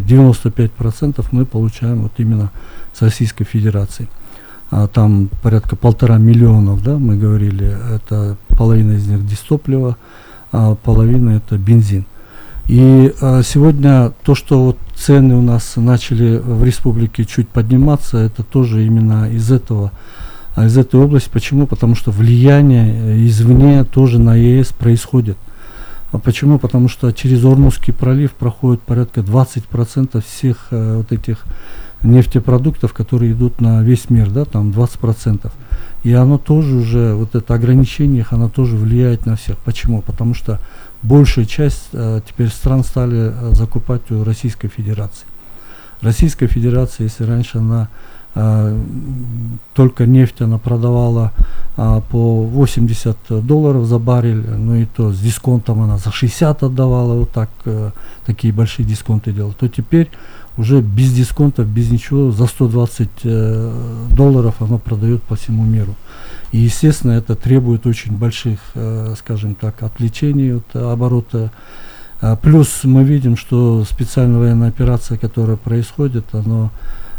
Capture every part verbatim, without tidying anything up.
девяносто пять процентов мы получаем вот именно с Российской Федерации. А там порядка полтора миллионов, да, мы говорили, это половина из них дистопливо, а половина это бензин. И а, сегодня то, что вот цены у нас начали в республике чуть подниматься, это тоже именно из этого, а из этой области. Почему? Потому что влияние извне тоже на ЕС происходит. А почему? Потому что через Ормузский пролив проходит порядка двадцать процентов всех э, вот этих нефтепродуктов, которые идут на весь мир, да, там двадцать процентов. И оно тоже уже, вот это ограничение их, оно тоже влияет на всех. Почему? Потому что большая часть э, теперь стран стали э, закупать у Российской Федерации. Российская Федерация, если раньше она э, только нефть она продавала э, по восемьдесят долларов за баррель, ну и то с дисконтом она за шестьдесят отдавала, вот так, э, такие большие дисконты делала, то теперь уже без дисконтов, без ничего, за сто двадцать э, долларов оно продает по всему миру. И, естественно, это требует очень больших, э, скажем так, отвлечений от оборота. А, плюс мы видим, что специальная военная операция, которая происходит, она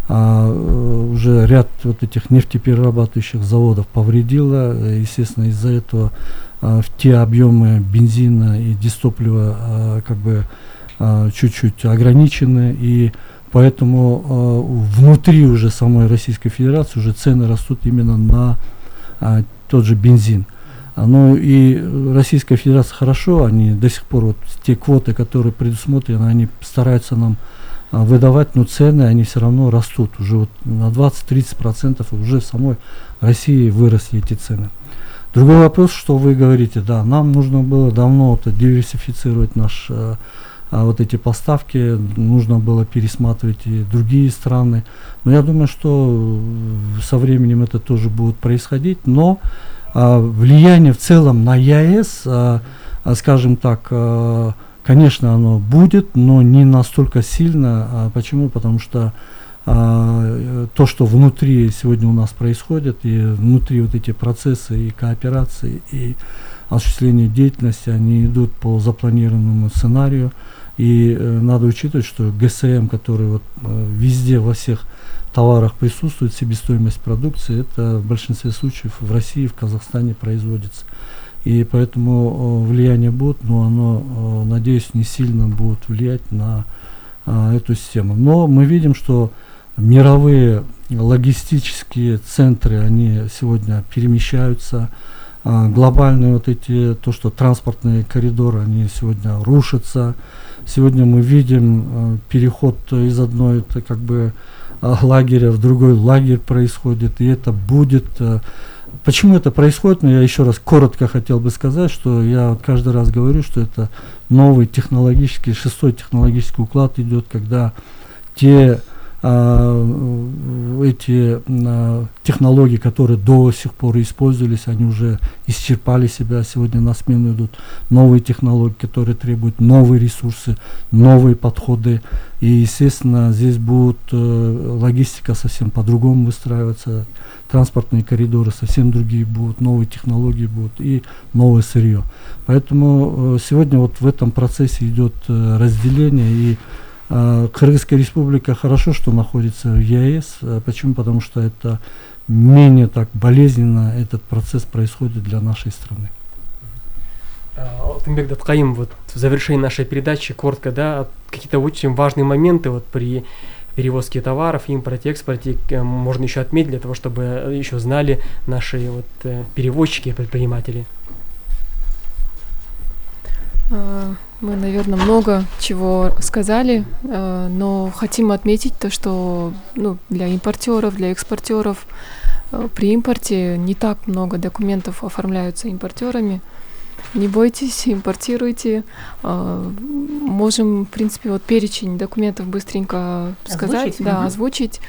а, уже ряд вот этих нефтеперерабатывающих заводов повредила. Естественно, из-за этого а, в те объемы бензина и дистоплива а, как бы а, чуть-чуть ограничены. И поэтому а, внутри уже самой Российской Федерации уже цены растут именно на а, тот же бензин. А, ну и Российская Федерация хорошо, они до сих пор вот те квоты, которые предусмотрены, они стараются нам а, выдавать, но цены они все равно растут. Уже вот на двадцать-тридцать процентов уже в самой России выросли эти цены. Другой вопрос, что вы говорите, да, нам нужно было давно это диверсифицировать наш а, а вот эти поставки, нужно было пересматривать и другие страны. Но я думаю, что со временем это тоже будет происходить. Но а, влияние в целом на ЕС, а, а, скажем так, а, конечно, оно будет, но не настолько сильно. А, почему? Потому что а, то, что внутри сегодня у нас происходит, и внутри вот эти процессы и кооперации, и осуществление деятельности, они идут по запланированному сценарию. И э, надо учитывать, что ГСМ, который вот, э, везде во всех товарах присутствует, себестоимость продукции, это в большинстве случаев в России, в Казахстане производится. И поэтому э, влияние будет, но оно, э, надеюсь, не сильно будет влиять на э, эту систему. Но мы видим, что мировые логистические центры, они сегодня перемещаются. А, глобальные вот эти, то, что транспортные коридоры, они сегодня рушатся. Сегодня мы видим а, переход из одной это, как бы, а, лагеря в другой лагерь происходит, и это будет. А, почему это происходит? Но я еще раз коротко хотел бы сказать, что я вот каждый раз говорю, что это новый технологический, шестой технологический уклад идет, когда те эти а, технологии, которые до сих пор использовались, они уже исчерпали себя, сегодня на смену идут новые технологии, которые требуют новые ресурсы, новые подходы, и, естественно, здесь будет э, логистика совсем по-другому выстраиваться, транспортные коридоры совсем другие будут, новые технологии будут и новое сырье. Поэтому э, сегодня вот в этом процессе идет э, разделение, и Кыргызская республика хорошо, что находится в ЕС. Почему? Потому что это менее так болезненно этот процесс происходит для нашей страны. Алтынбек Даткаим, вот в завершении нашей передачи коротко, да, какие-то очень важные моменты вот при перевозке товаров, импорте, экспорте можно еще отметить для того, чтобы еще знали наши вот перевозчики и предприниматели. Мы, наверное, много чего сказали, но хотим отметить то, что ну, для импортеров, для экспортеров при импорте не так много документов оформляются импортерами. Не бойтесь, импортируйте. Можем, в принципе, вот перечень документов быстренько сказать, озвучить, да, угу. озвучить.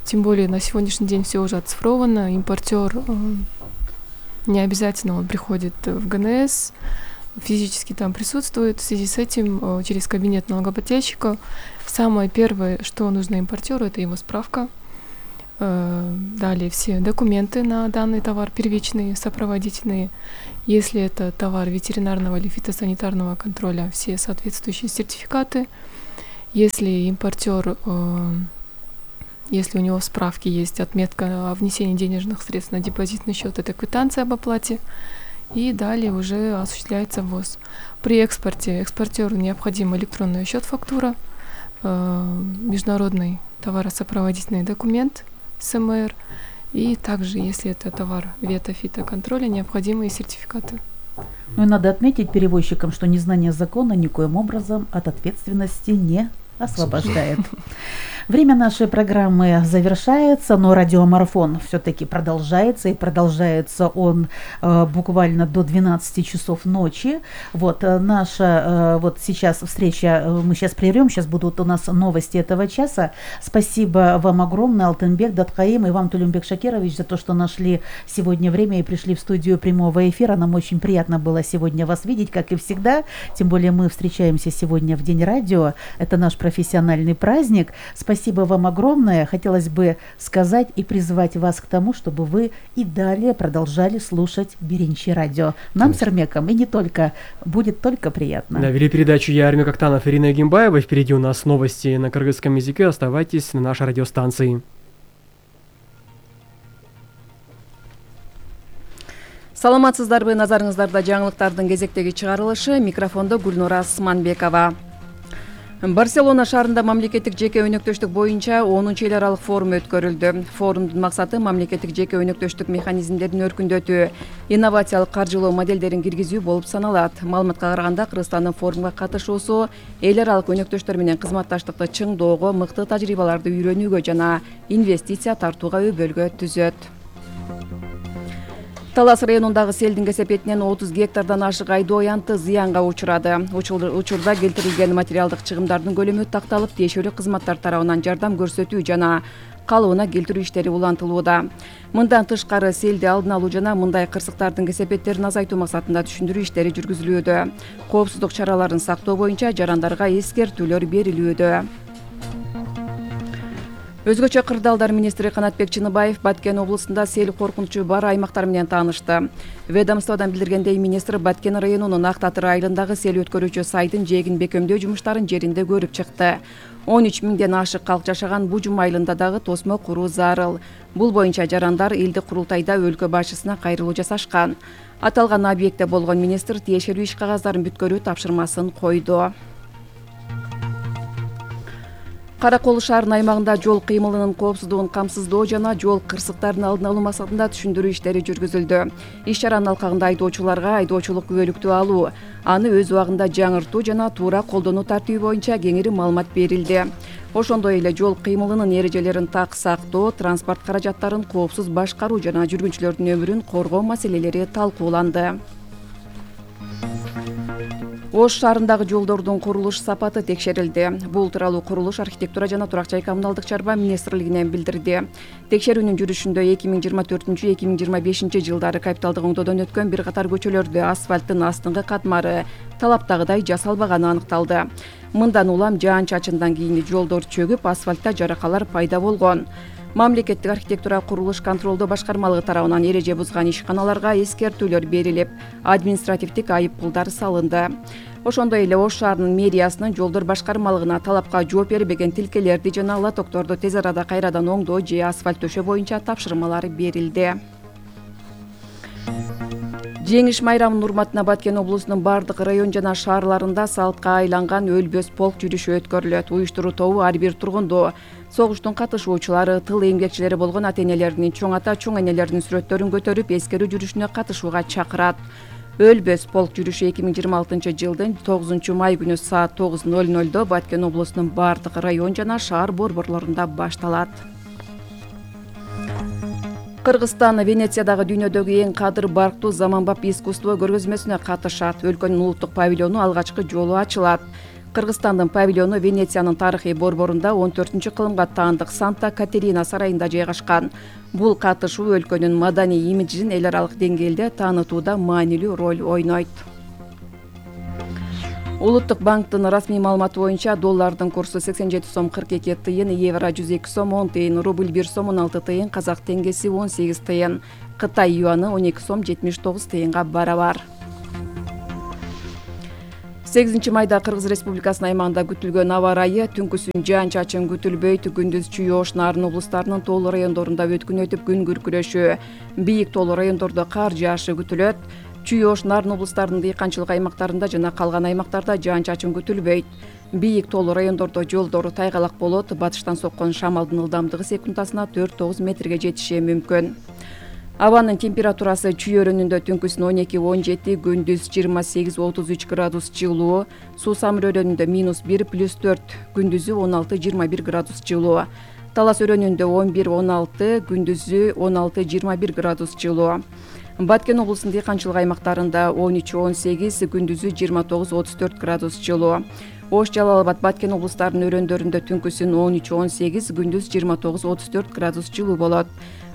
Тем более на сегодняшний день все уже оцифровано. Импортер не обязательно он приходит в ГНС, физически там присутствует. В связи с этим через кабинет налогоплательщика самое первое, что нужно импортеру, это его справка. Далее все документы на данный товар, первичные, сопроводительные. Если это товар ветеринарного или фитосанитарного контроля, все соответствующие сертификаты. Если импортер, если у него в справке есть отметка о внесении денежных средств на депозитный счет, это квитанция об оплате, и далее уже осуществляется ввоз. При экспорте экспортеру необходим электронный счет-фактура, международный товаросопроводительный документ эс эм эр, и также, если это товар вето-фитоконтроля, необходимые сертификаты. Ну и надо отметить перевозчикам, что незнание закона никоим образом от ответственности не освобождает. Время нашей программы завершается, но радиомарафон все-таки продолжается, и продолжается он э, буквально до двенадцати часов ночи. Вот э, наша э, вот сейчас встреча, э, мы сейчас прервем, сейчас будут у нас новости этого часа. Спасибо вам огромное, Алтынбек Даткаим, и вам, Тулюмбек Шакирович, за то, что нашли сегодня время и пришли в студию прямого эфира. Нам очень приятно было сегодня вас видеть, как и всегда. Тем более мы встречаемся сегодня в День радио. Это наш профессиональный праздник. Спасибо вам огромное. Хотелось бы сказать и призвать вас к тому, чтобы вы и далее продолжали слушать Беренчи радио. Нам с Эрмеком и не только. Будет только приятно. Да, вели передачу я, Эрмек Актанов, Ирина Егимбаева. Впереди у нас новости на кыргызском языке. Оставайтесь на нашей радиостанции. Саламатсыздарбы, назарыңыздарда жаңылыктардын кезектеги чыгарылышы. Микрофондо Гүлнура Сманбекова. Барселона шаарында мамлекеттик жеке өнөктөштүк боюнча онунчу эл аралык форум өткөрүлдү. Форумдун максаты мамлекеттик жеке өнөктөштүк механизмдерин өркүндөтүү, инновациялык каржылоо моделдерин киргизүү болуп саналат. Маалыматка караганда, Кыргызстандын форумга катышуусу эл аралык өнөктөштөр менен кызматташтыкты чыңдоого, мыкты тажрыйбаларды үйрөнүүгө жана инвестиция тартууга өбөлгө түзөт. Талас районундагы селдин кесепетинен отуз гектардан ашык айдоо аянты зыянга учурады. Учурда келтирилген материалдык чыгымдардын көлөмү такталып, тиешелүү кызматтар тарабынан жардам көрсөтүү жана калыбына келтирүү иштери улантылууда. Мындан тышкары селди алдын алуу жана мындай кырсыктардын кесепеттерин азайтуу максатында түшүндүрүү иштери жүргүзүлүүдө. Коопсуздук чараларын сактоо боюнча жарандарга эскертүүлөр берилүүдө. Өзгөчө кырдаалдар министри Канатбек Чыныбаев Баткен облусунда сел коркунучу бар аймактар менен таанышты. Ведомстводан билдиргендей, министр Баткен районунун Ак Татыр айылындагы сел өткөрүүчү сайдын жээгин бекемдөө жумуштарын жеринде көрүп чыкты. он үч миңден ашык калк жашаган Бужум айылында дагы тосмо куруу зарыл. Бул боюнча жарандар элдик курултайда өлкө башчысына кайрылуу жасашкан. Аталган объектте болгон министр тиешелүү иш кагаздарын бүткөрүү тапшырмасын койду. Каракол шаарынын аймагында жол кыймылынын коопсуздугун камсыздоо жана жол кырсыктарын алдын алуу максатында түшүндүрүү иштери жүргүзүлдү. Иш чаранын алкагында айдоочуларга айдоочулук күбөлүктү алуу, аны өз убагында жаңыртуу жана туура колдонуу тартиби боюнча кеңири маалымат берилди. Ошондой эле жол кыймылынын эрежелерин так сактоо, транспорт каражаттарын коопсуз башкаруу жана жүргүнчүлөрдүн өмүрүн коргоо маселелери талкууланды. Ош шаарындагы жолдордун курулуш сапаты текшерилди. Бул тууралуу курулуш, архитектура жана турак жай коммуналдык чарба министрлигинен билдирди. Текшерүүнүн жүрүшүндө эки миң жыйырма төртүнчү эки миң жыйырма бешинчи жылдары капиталдык оңдоодон өткөн бир катар көчөлөрдө асфальттын астыңкы катмары талаптагыдай жасалбаганы аныкталды. Мындан улам жаан-чачындан кийин жолдор чөгүп, асфальтта жаракалар пайда болгон. Мамлекеттик архитектура курулуш контролдоо башкармалыгы тарабынан эреже бузган ишканаларга эскертүүлөр берилип, административдик айып пулдар салынды. Ошондой эле Ош шаарынын мэриясынын жолдор башкармалыгына талапка жооп бербеген тилкелерди жана лотокторду тез арада кайрадан оңдоо же асфальт төшөө боюнча тапшырмалар берилди. Жеңиш майрамынын урматына Баткен облусунун бардык район жана шаарларында салтка айланган өлбөс полк жүрүшү өткөрүлөт. Уюштуруу тобу ар бир тургунду, согуштун катышуучулары, тыл эмгекчилери болгон ата-энелеринин, чоң ата, чоң энелеринин сүрөттөрүн көтөрүп, эскерүү жүрүшүнө катышууга чакырат. Өлбөс полк жүрүшү эки миң жыйырма алтынчы жылдын тогузунчу май күнү саат тогуз ноль нольдо Баткен облусунун бардык район жана шаар борборлорунда башталат. Кыргызстан Венециядагы дүйнөдөгү эң кадыр барктуу заманбап искусство көргөзмөсүнө катышат. Өлкөнүн улуттук павильону алгачкы жолу ачылат. Кыргызстандын павильону Венециянын тарыхый борборунда он төртүнчү кылымга таандык Санта Катерина сарайында жайгашкан. Бул катышуу өлкөнүн маданий имиджин эл аралык деңгээлде таанытууда маанилүү роль ойнойт. Улуттук банктын расмий маалыматы боюнча доллардын курсу сексен жети сом кырк эки тыйын, евро жүз эки сом он тыйын, рубль бир сом он алты тыйын, казак теңгеси он сегиз тыйын, Кытай юаны он эки сом жетимиш тогуз тыйынга барабар. сегизинчи майда Кыргыз Республикасынын аймагында күтүлгөн аба ырайы түнкүсүн жаан-чачын күтүлбөйт, күндүз Чүй-Ош, Нарын облустарынын тоолуу райондорунда өткүн өтүп күн күркүрөшү, бийик тоолуу райондордо кар жаашы күтүлөт. Чүй-Ош, Нарын облустарынын дыйканчылык аймактарында жана калган аймактарда жаан-чачын күтүлбөйт. Бийик тоолуу райондордо жолдор тайгалак болот, батыштан соккон шамалдын ылдамдыгы секундасына төрт тогуз метрге жетиши мүмкүн. Абанын температурасы Чүй өрөөнүндө түнкүсүн он эки он жети, күндүз жыйырма сегиз отуз үч градус жылуу, Суу Самыр өрөөнүндө минус бир плюс төрт, күндүзү он алты жыйырма бир градус жылуу. Талас өрөөнүндө он бир он алты, күндүзү он алты жыйырма бир градус жылуу. Баткен облусунун дыйканчылык аймактарында он үч он сегиз, күндүзү жыйырма тогуз отуз төрт градус жылуу. Ош, Жалал Абад, Баткен облустарынын өрөөндөрүндө түнкүсүн он үч он сегиз, күндүз жыйырма тогуз отуз төрт градус жылуу болот.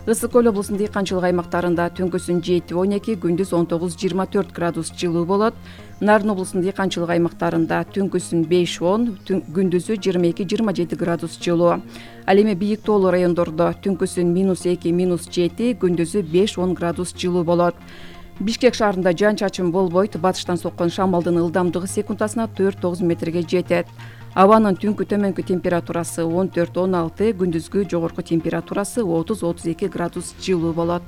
Ысык көл облусунун дыйканчылык аймактарында түнкүсүн жети он эки, күндүз он тогуз жыйырма төрт градус жылуу болот. Нарын облусунун дыйканчылык аймактарында түнкүсүн беш он, күндүзү жыйырма эки жыйырма жети градус жылуу. Ал эми бийик тоолуу райондордо түнкүсүн минус эки минус жети, күндүзү беш он градус жылуу болот. Бишкек шаарында жаан-чачын болбойт, батыштан соккон шамалдын ылдамдыгы секундасына төрт тогуз метрге жетет. Абанын түнкү төмөнкү температурасы он төрт он алты, күндүзгү жогорку температурасы отуз отуз эки градус жылуу болот.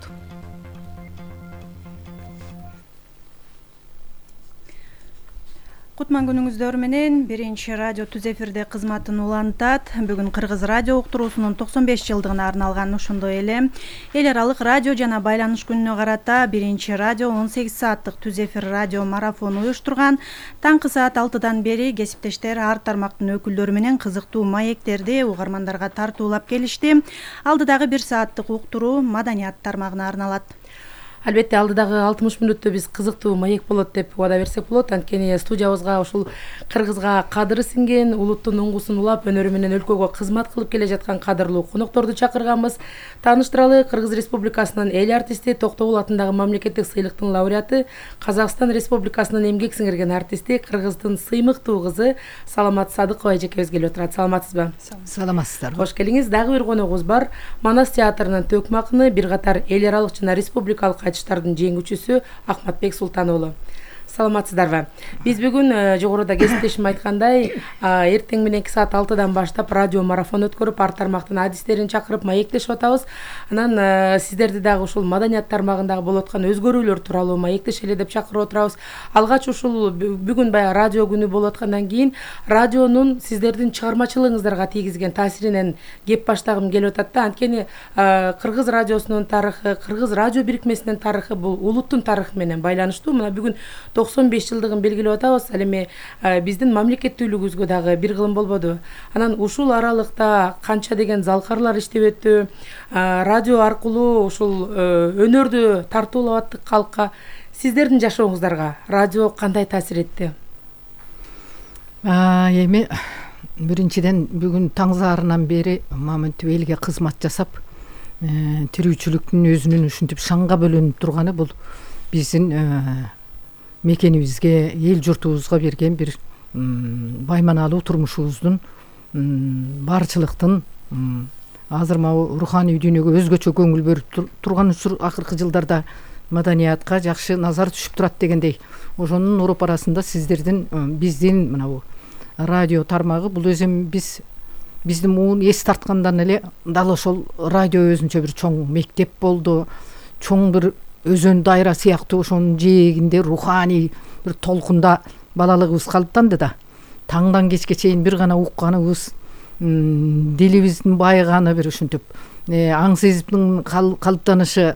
Кутман күнүңүздөр менен биринчи радио түз эфирде кызматын улантат. Бүгүн Кыргыз радио уктуруусунун токсон беш жылдыгына арналган ошондой эле эл аралык радио жана байланыш күнүнө карата биринчи радио он сегиз сааттык түз эфир радио марафону уюштурган. Таңкы саат алтыдан бери кесиптештер ар тармактын өкүлдөрү менен кызыктуу маектерди угармандарга тартуулап келишти. Алдыдагы бир сааттык уктуруу маданият тармагына арналат. Албетте алдыдагы алтымыш мүнөттө биз кызыктуу маек болот деп убада берсек болот. Анткени студиябызга ушул Кыргызга кадыры сиңген, улуттун уңгусун улап, өнөрү менен өлкөгө кызмат кылып келе жаткан кадырлуу конокторду чакырганбыз. Тааныштыралы, Кыргыз Республикасынын эл артисти, Токтогул атындагы мамлекеттик сыйлыктын лауреаты, Казакстан Республикасынын эмгек сиңирген артисти, Кыргыздын сыймыктуу кызы Саламат Садыкова эжекебиз келип отурат. Саламатсызбы? Саламатсыздар. Кош келиңиз. Дагы бир коногубуз бар. Манас театрынын төкмө акыны, бир катар эл аралык жана республикалык айтыштардын жеңүүчүсү Ахматбек Султан уулу. Саламатсыздарбы? Биз бүгүн жогоруда кесиптешим айткандай, эртең мененки саат алтыдан баштап радио марафон өткөрүп, ар тармактын адистерин чакырып маектешип атабыз. Анан сиздерди дагы ушул маданият тармагындагы болуп аткан өзгөрүүлөр тууралуу маектешели деп чакырып отурабыз. Алгач ушул бүгүн баягы радио күнү болуп аткандан кийин радионун сиздердин чыгармачылыгыңыздарга тийгизген таасиринен кеп баштагым келип атат да. Анткени Кыргыз радиосунун тарыхы, Кыргыз радио бирикмесинин тарыхы бул улуттун тарыхы менен байланыштуу. Мына бүгүн токсон беш жылдыгын белгилеп атабыз. Ал эми биздин мамлекеттүүлүгүбүзгө дагы бир кылым болбоду. Анан ушул аралыкта канча деген залкарлар иштеп өттү. Радио аркылуу ушул өнөрдү тартуулап аттык калкка. Сиздердин жашооңуздарга радио кандай таасир этти? Эми биринчиден бүгүн таң заарынан бери мамынтип элге кызмат жасап, тирүүчүлүктүн өзүнүн ушинтип шаңга бөлөнүп турганы бул биздин мекенибизге, эл журтубузга берген бир байманалуу турмушубуздун, барчылыктын, азыр могу руханий дүйнөгө өзгөчө көңүл бөлүп турган учур акыркы жылдарда маданиятка жакшы назар түшүп турат дегендей. Ошонун уруп арасында сиздердин биздин мына радио тармагы бул өзү биз биздин муун эс тарткандан эле дал ошол радио өзүнчө бир чоң мектеп болду, чоң бир өзөн дайра сыяктуу ошонун жээгинде руханий бир толкунда балалыгыбыз калыптанды да. Таңдан кечке чейин бир гана укканыбыз, дилибиздин байыганы бир ушинтип, аң сезимдин калыптанышы,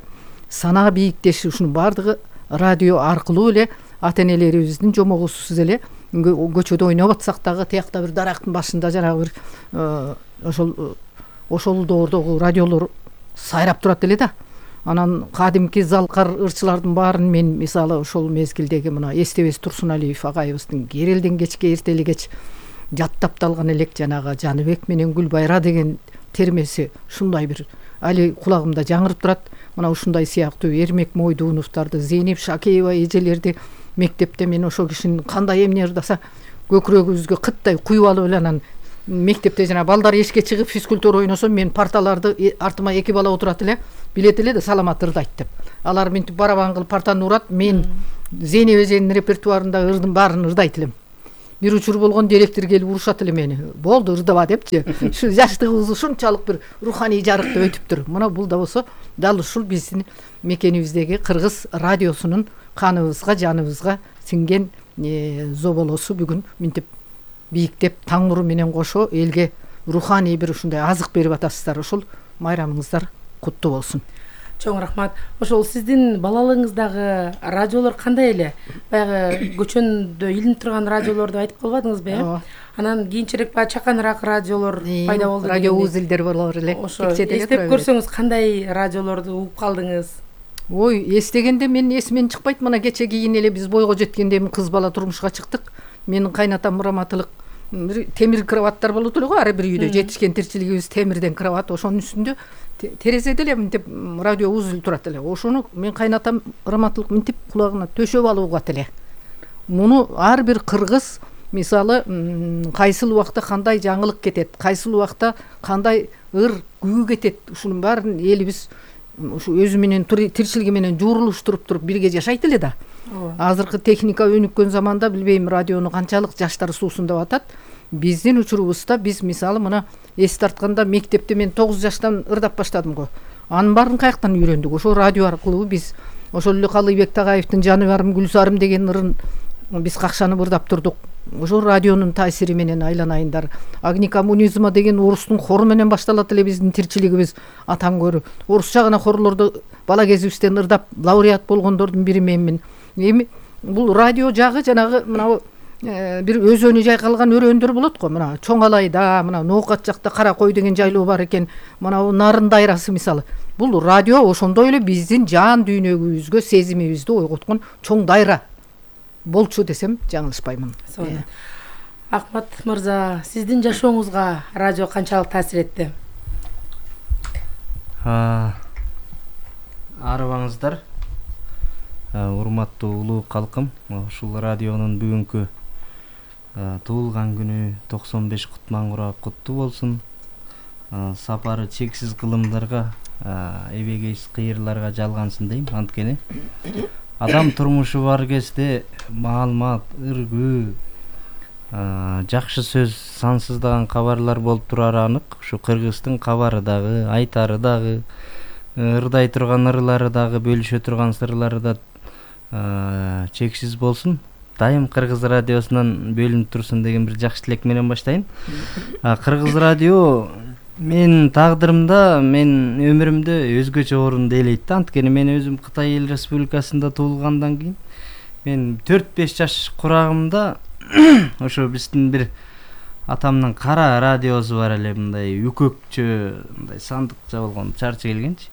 санаа бийиктеши, ушунун баардыгы радио аркылуу эле ата энелерибиздин жомогусусуз эле көчөдө ойноп атсак дагы тиякта бир дарактын башында жанагы бир ошол ошол доордогу радиолор сайрап турат эле да. Анан кадимки залкар ырчылардын баарын мен мисалы ошол мезгилдеги мына Эстебес Турсуналиев агайыбыздын Керелден кечке эртели кеч жаттап талган элек жанагы Жаныбек менен Гүлбайра деген термеси ушундай бир али кулагымда жаңырып турат. Мына ушундай сыяктуу Эрмек Мойдуновдорду, Зейнеп Шакеева эжелерди мектепте мен ошол кишинин кандай эмне ырдаса көкүрөгүбүзгө кыттай куюп алып эле анан мектепте жана балдар эшикке чыгып физкультура ойносо мен парталарды артыма эки бала отурат эле, билет эле да Саламат ырдайт деп. Алар мынтип барабан кылып партаны урат, мен Зейнеп эженин репертуарындагы ырдын баарын ырдайт элем. бир учур болгон директор келип урушат эле мени. Болду, ырдаба депчи. Ушу жаштыгыбыз ушунчалык бир руханий жарыкта өтүптүр. Мына бул да болсо дал ушул биздин мекенибиздеги кыргыз радиосунун каныбызга, жаныбызга сиңген зоболосу бүгүн минтип бийиктеп таң нуру менен кошо элге руханий бир ушундай азык берип атасыздар. Ошол майрамыңыздар куттуу болсун. Чоң рахмат. Ошол сиздин балалыгыңыздагы радиолор кандай эле? Баягы көчөндө илинип турган радиолорду айтып калбадыңызбы, э? Анан кийинчерээк баягы чаканыраак радиолор пайда болду. Радио узилдер болор эле. Ошо эстеп көрсөңүз кандай радиолорду угуп калдыңыз? Ой, эстегенде мен эсимен чыкпайт. Мына кече кийин эле биз бойго жеткенде кыз бала турмушка чыктык. Менин кайнатам раматылык темир кроваттар болот эле го, ар бир үйдө жетишкен тирчилигибиз темирден кроват, ошонун үстүндө терезеде эле мынтип радио узул турат эле. Ошону мен кайнатам раматылык мынтип кулагына төшөп алып угат эле. Муну ар бир кыргыз мисалы кайсыл убакта кандай жаңылык кетет, кайсыл убакта кандай ыр күү кетет, ушунун баарын элибиз ушу өзү менен тирчилиги менен жуурулуштуруп туруп бирге жашайт эле да. Азыркы техника өнүккөн заманда билбейм радиону канчалык жаштар суусун деп атат. Биздин учурубузда биз мисалы мына эс тартканда мектепте мен тогуз жаштан ырдап баштадым го. Анын баарын каяктан үйрөндүк? Ошо радио аркылуу биз ошол эле Калыйбек Тагаевдин Жаны барым Гүлсарым деген ырын биз какшанып ырдап турдук. Ошо радионун таасири менен айланайындар. Агни коммунизма деген орустун хору менен башталат эле биздин тирчилигибиз атаң көрү. Орусча гана хорлорду бала кезибизден ырдап лауреат болгондордун бири менмин. Эми бул радио жагы жанагы мына бир өзөнү жайкалган өрөөндөр болот го. Мына Чоңалайда, мына Ноокат жакта Кара кой деген жайлоо бар экен. Мына Нарын дайрасы мисалы. Бул радио ошондой эле биздин жан дүйнөгүбүзгө сезимибизди ойготкон чоң дайра болчу десем жаңылышпаймын. Ахмат мырза, сиздин жашооңузга радио канчалык таасир этти? Арыбаңыздар, урматтуу улуу калкым, ушул радионун бүгүнкү туулган күнү токсон беш кутман куттуу болсун. Сапары чексиз кылымдарга, эбегейсиз кыйырларга жалгансын дейм. Анткени адам турмушу бар кезде маалымат, ыргүү, жакшы сөз, сансыздаган кабарлар болуп турары анык. Ушу Кыргыздын кабары дагы, айтары дагы, ырдай турган ырлары дагы, бөлүшө турган сырлары да чексиз болсун. Дайым Кыргыз радиосунан бөлүнүп турсун деген бир жакшы тилек менен баштайын. Кыргыз радио мен тагдырымда, мен өмүрүмдө өзгөчө орунду ээлейт. Анткени мен өзүм Кытай Эл Республикасында туулгандан кийин мен төрт беш жаш курагымда ошо биздин бир атамдын кара радиосу бар эле, мындай үкөкчө, мындай сандыкча болгон, чарчы келгенчи.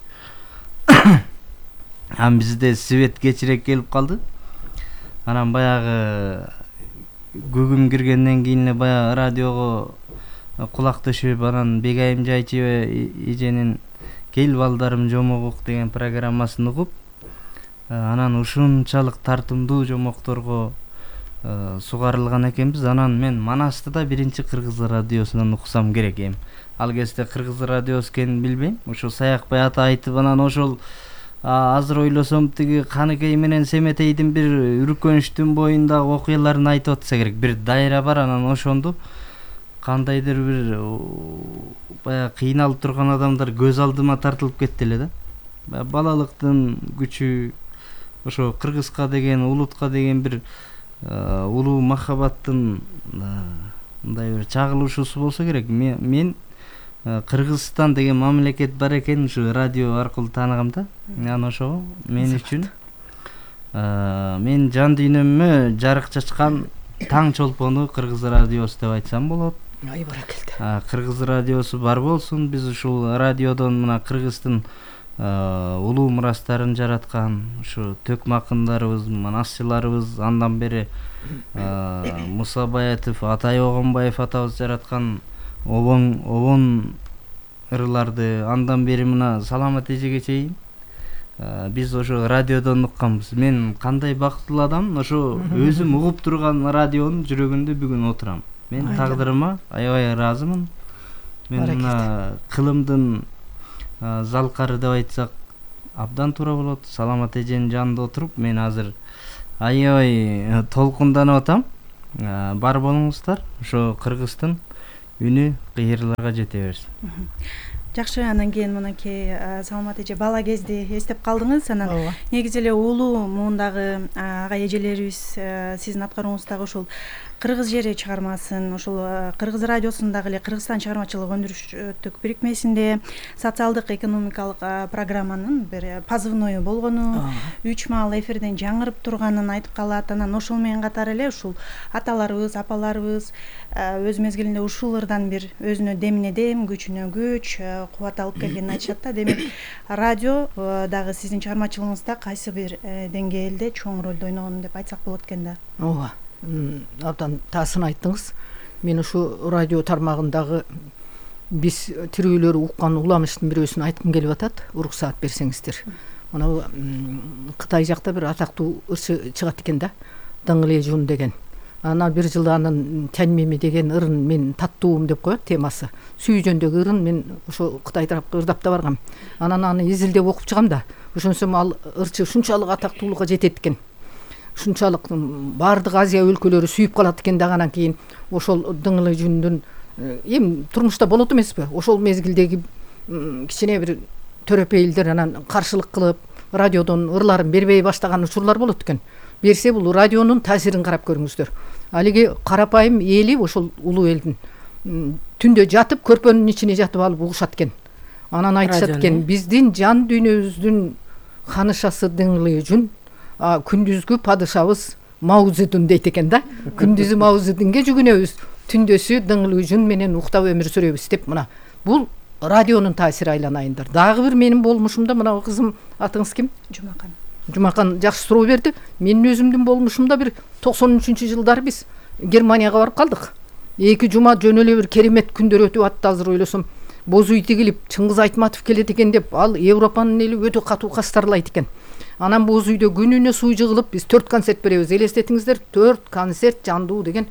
Ан бизде свет кечирээк келип калды. Анан баягы күгүм киргенден кийин эле баягы радиого кулак төшүп, анан Бегайым Жайчыбай эженин Кел балдарым жомогук деген программасын угуп, анан ушунчалык тартымдуу жомокторго сугарылган экенбиз. Анан мен Манасты да биринчи Кыргыз радиосунан уксам керек эм. Ал кезде Кыргыз радиосу экенин билбейм. Ошо Саякбай ата айтып, анан ошол азыр ойлосом тиги Каныкей менен Семетейдин бир үркөнүчтүн боюндагы окуяларын айтып атса керек. Бир дайра бар, анан ошондо кандайдыр бир баягы кыйналып турган адамдар көз алдыма тартылып кетти эле да. Балалыктын күчү, ошо Кыргызга деген, улутка деген бир улуу махабаттын мындай бир чагылышуусу болсо керек. Мен Кыргызстан деген мамлекет бар экен ушу радио аркылуу тааныгам да. Анан ошо мен үчүн мен жан дүйнөмө жарык чачкан таң чолпону Кыргыз радиосу деп айтсам болот. Ай баракелде. Кыргыз радиосу бар болсун. Биз ушул радиодон мына Кыргыздын улуу мурастарын жараткан ушу төкмакындарыбыз, манасчыларыбыз, андан бери Муса Баятов, Атай Огонбаев атабыз жараткан обон обон ырларды, андан бери мына Саламат эжеге чейин биз ошо радиодон укканбыз. Мен кандай бактылуу адам, ошо өзүм угуп турган радионун жүрөгүндө бүгүн отурам. Мен тагдырыма аябай ыраазымын. Мен мына кылымдын залкары деп айтсак абдан туура болот. Саламат эженин жанында отуруп мен азыр аябай толкунданып атам. бар болуңуздар. Ошо Кыргыздын үнү кыйырларга жете берсин. Жакшы, анан кийин мынакей Саламат эже бала кезде эстеп калдыңыз. Анан негизи эле улуу муундагы ага эжелерибиз сиздин аткарууңуздагы ушул Кыргыз жери чыгармасын, ушул Кыргыз радиосундагы эле Кыргызстан чыгармачылык өндүрүштүк бирикмесинде социалдык экономикалык программанын бир позывною болгону, үч маал эфирден жаңырып турганын айтып калат. Анан ошол менен катар эле ушул аталарыбыз, апаларыбыз өз мезгилинде ушул ырдан бир өзүнө демине дем, күчүнө күч, кубат алып келгенин айтышат да. Демек, радио дагы сиздин чыгармачылыгыңызда кайсы бир деңгээлде чоң ролду ойногон деп айтсак болот экен да. Ооба. Абдан таасын айттыңыз. Мен ушу радио тармагындагы биз тирүүлөр уккан уламыштын бирөөсүн айткым келип атат. Уруксаат берсеңиздер. Мына Кытай жакта бир атактуу ырчы чыгат экен да. Дыңлежун деген. Ана бир жылы анын Тяньмими деген ырын мен таттуум деп коет темасы. Сүй жөндөгү ырын мен ошо Кытай тарапка ырдап да баргам. Анан аны изилдеп окуп чыгам да. Ошонсом ал ырчы ушунчалык атактуулукка жетет экен. Ушунчалык баардык Азия өлкөлөрү сүйүп калат экен да. Анан кийин ошол дыңлы жүндүн эми турмушта болот эмеспи? Ошол мезгилдеги кичине бир төрөпөйлдөр анан каршылык кылып, радиодон ырларын бербей баштаган учурлар болот экен. Берсе бул радионун таасирин карап көрүңүздөр. Алиги карапайым эли ошол улуу элдин түндө жатып, көрпөнүн ичине жатып алып угушат экен. Анан айтышат экен, биздин жан дүйнөбүздүн ханышасы дыңлы жүн, күндүзгү падышабыз Мао Цзэдун дейт экен да. Күндүзү Мао Цзэдунге жүгүнөбүз, түндөсү дыңлы жүн менен уктап өмүр сүрөбүз деп. Мына бул радионун таасири айланайындар. Дагы бир менин болмушумда мына кызым, атыңыз ким? Жумакан. Жумакан жакшы суроо берди. Менин өзүмдүн болмушумда бир токсон үчүнчү жылдары биз Германияга барып калдык. Эки жума жөн эле бир керемет күндөр өтүп атты. Азыр ойлосом, боз үй тигилип, Чыңгыз Айтматов келет экен деп, ал Европанын эли өтө катуу кастарлайт экен. Анан боз үйдө күнүнө суу жыгылып, биз төрт концерт беребиз. Элестетиңиздер, төрт концерт жандуу деген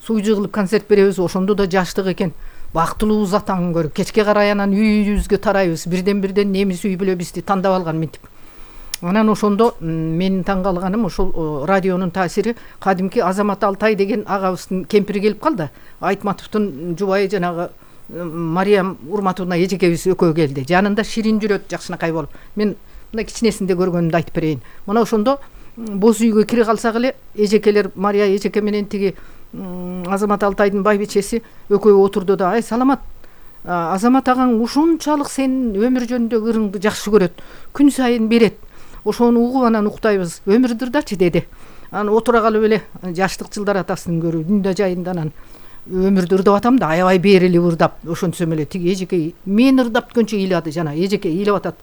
суу жыгылып концерт беребиз. Ошондо да жаштык экен. Бактылуубуз атаңын көрүп, кечке карай анан үйүбүзгө тарайбыз. Бирден-бирден немис үй беле бизди тандап алган мынтип. Анан ошондо менин таң калганым ошол радионун таасири. Кадимки Азамат Алтай деген агабыздын кемпири келип калды. Айтматовдун жубайы жанагы Мариям Урматовна эжекебиз экөө келди. Жанында ширин жүрөт жакшынакай болуп. Мен мына кичинесинде көргөнүмдү айтып берейин. Мына ошондо боз үйгө кире калсак эле эжекелер Мария эжеке менен тиги Азамат Алтайдын байбичеси экөө отурду да, ай Саламат, Азамат агаң ушунчалык сенин өмүр жөнүндөгү ырыңды жакшы көрөт, күн сайын берет. Ошону угуп анан уктайбыз. Өмүрдүрдачы деди. Анан отура калып эле жаштык жылдар атасын көрүп, дүндө жайында анан өмүрдү ырдап атам да, аябай берили ырдап. Ошонсом эле тиги эжеке мен ырдап түгөнчө ыйлады, жана эжеке ыйлап атат.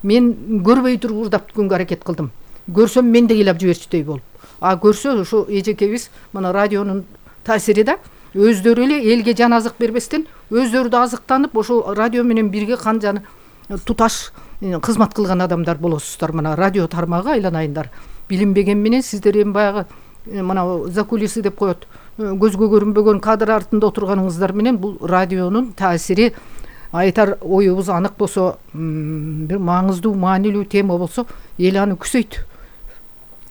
Мен көрбөй туруп ырдап түгөнгө аракет кылдым. Көрсөм мен да ыйлап жиберчүдөй болуп. А көрсө ошо эжекебиз мына радионун таасири да өздөрү эле элге жан азык бербестен өздөрү да азыктанып ошол радио менен бирге кан жаны туташ кызмат кылган адамдар болосуздар. Мына радио тармагы айланайындар. Билинбеген менен сиздер эми баягы мына закулисы деп коет, көзгө көрүнбөгөн кадр артында отурганыңыздар менен бул радионун таасири айтар оюбуз анык болсо, бир маңыздуу, маанилүү тема болсо, эл аны күзөйт.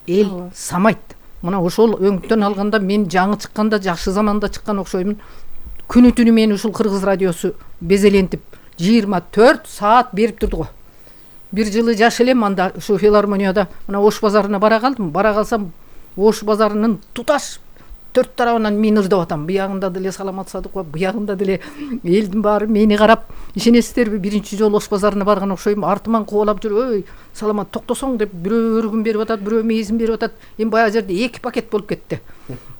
Эл самайт. Мына ошол өңүттөн алганда мен жаңы чыкканда, жакшы заманда чыккан окшоймун. Күнү түнү мен ушул Кыргыз радиосу безелентип жыйырма төрт саат берип турду го. Бир жылы жаш элем анда ушу филармонияда мына Ош базарына бара калдым. Бара калсам Ош базарынын туташ төрт тарабынан мен ырдап атам. Буягында деле Саламат Садыкова, буягында деле элдин баары мени карап, ишенесиздерби, биринчи жолу Ош базарына барган окшойм. Артыман кубалап жүрүп, "Ой, Саламат, токтосоң" деп бирөө өргүн берип атат, бирөө мейизин берип атат. Эми баягы жерде эки пакет болуп кетти.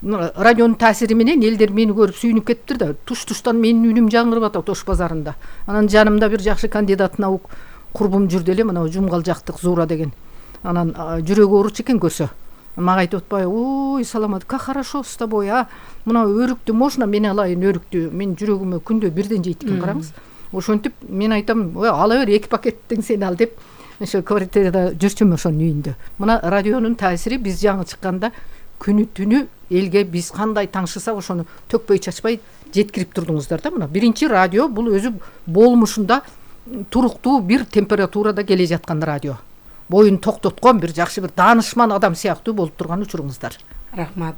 Радионун таасири менен элдер мени көрүп сүйүнүп кетиптир да. Туш-туштан менин үнүм жаңырып атат Ош базарында. Анан жанымда бир жакшы кандидат наук курбум жүрдү эле, мына Жумгал жактык Зура деген. Анан жүрөгү ооручу экен көрсө. Мага айтып атпайбы, "Ой, Саламат, как хорошо с тобой, а? Мына өрүктү можно мен алайын өрүктү? Мен жүрөгүмө күндө бирден жейт экен, караңыз." Ошентип мен айтам, "Ой, ала бер, эки пакеттен сен ал" деп, ошо квартирада жүрчүм ошонун үйүндө. Мына радионун таасири биз жаңы чыкканда күнү түнү элге биз кандай таңшысак ошону төкпөй чачпай жеткирип турдуңуздар да. Мына биринчи радио бул өзү болмушунда туруктуу бир температурада келе жаткан радио. Боюн токтоткон бир жакшы бир даанышман адам сыяктуу болуп турган учуруңуздар. Рахмат.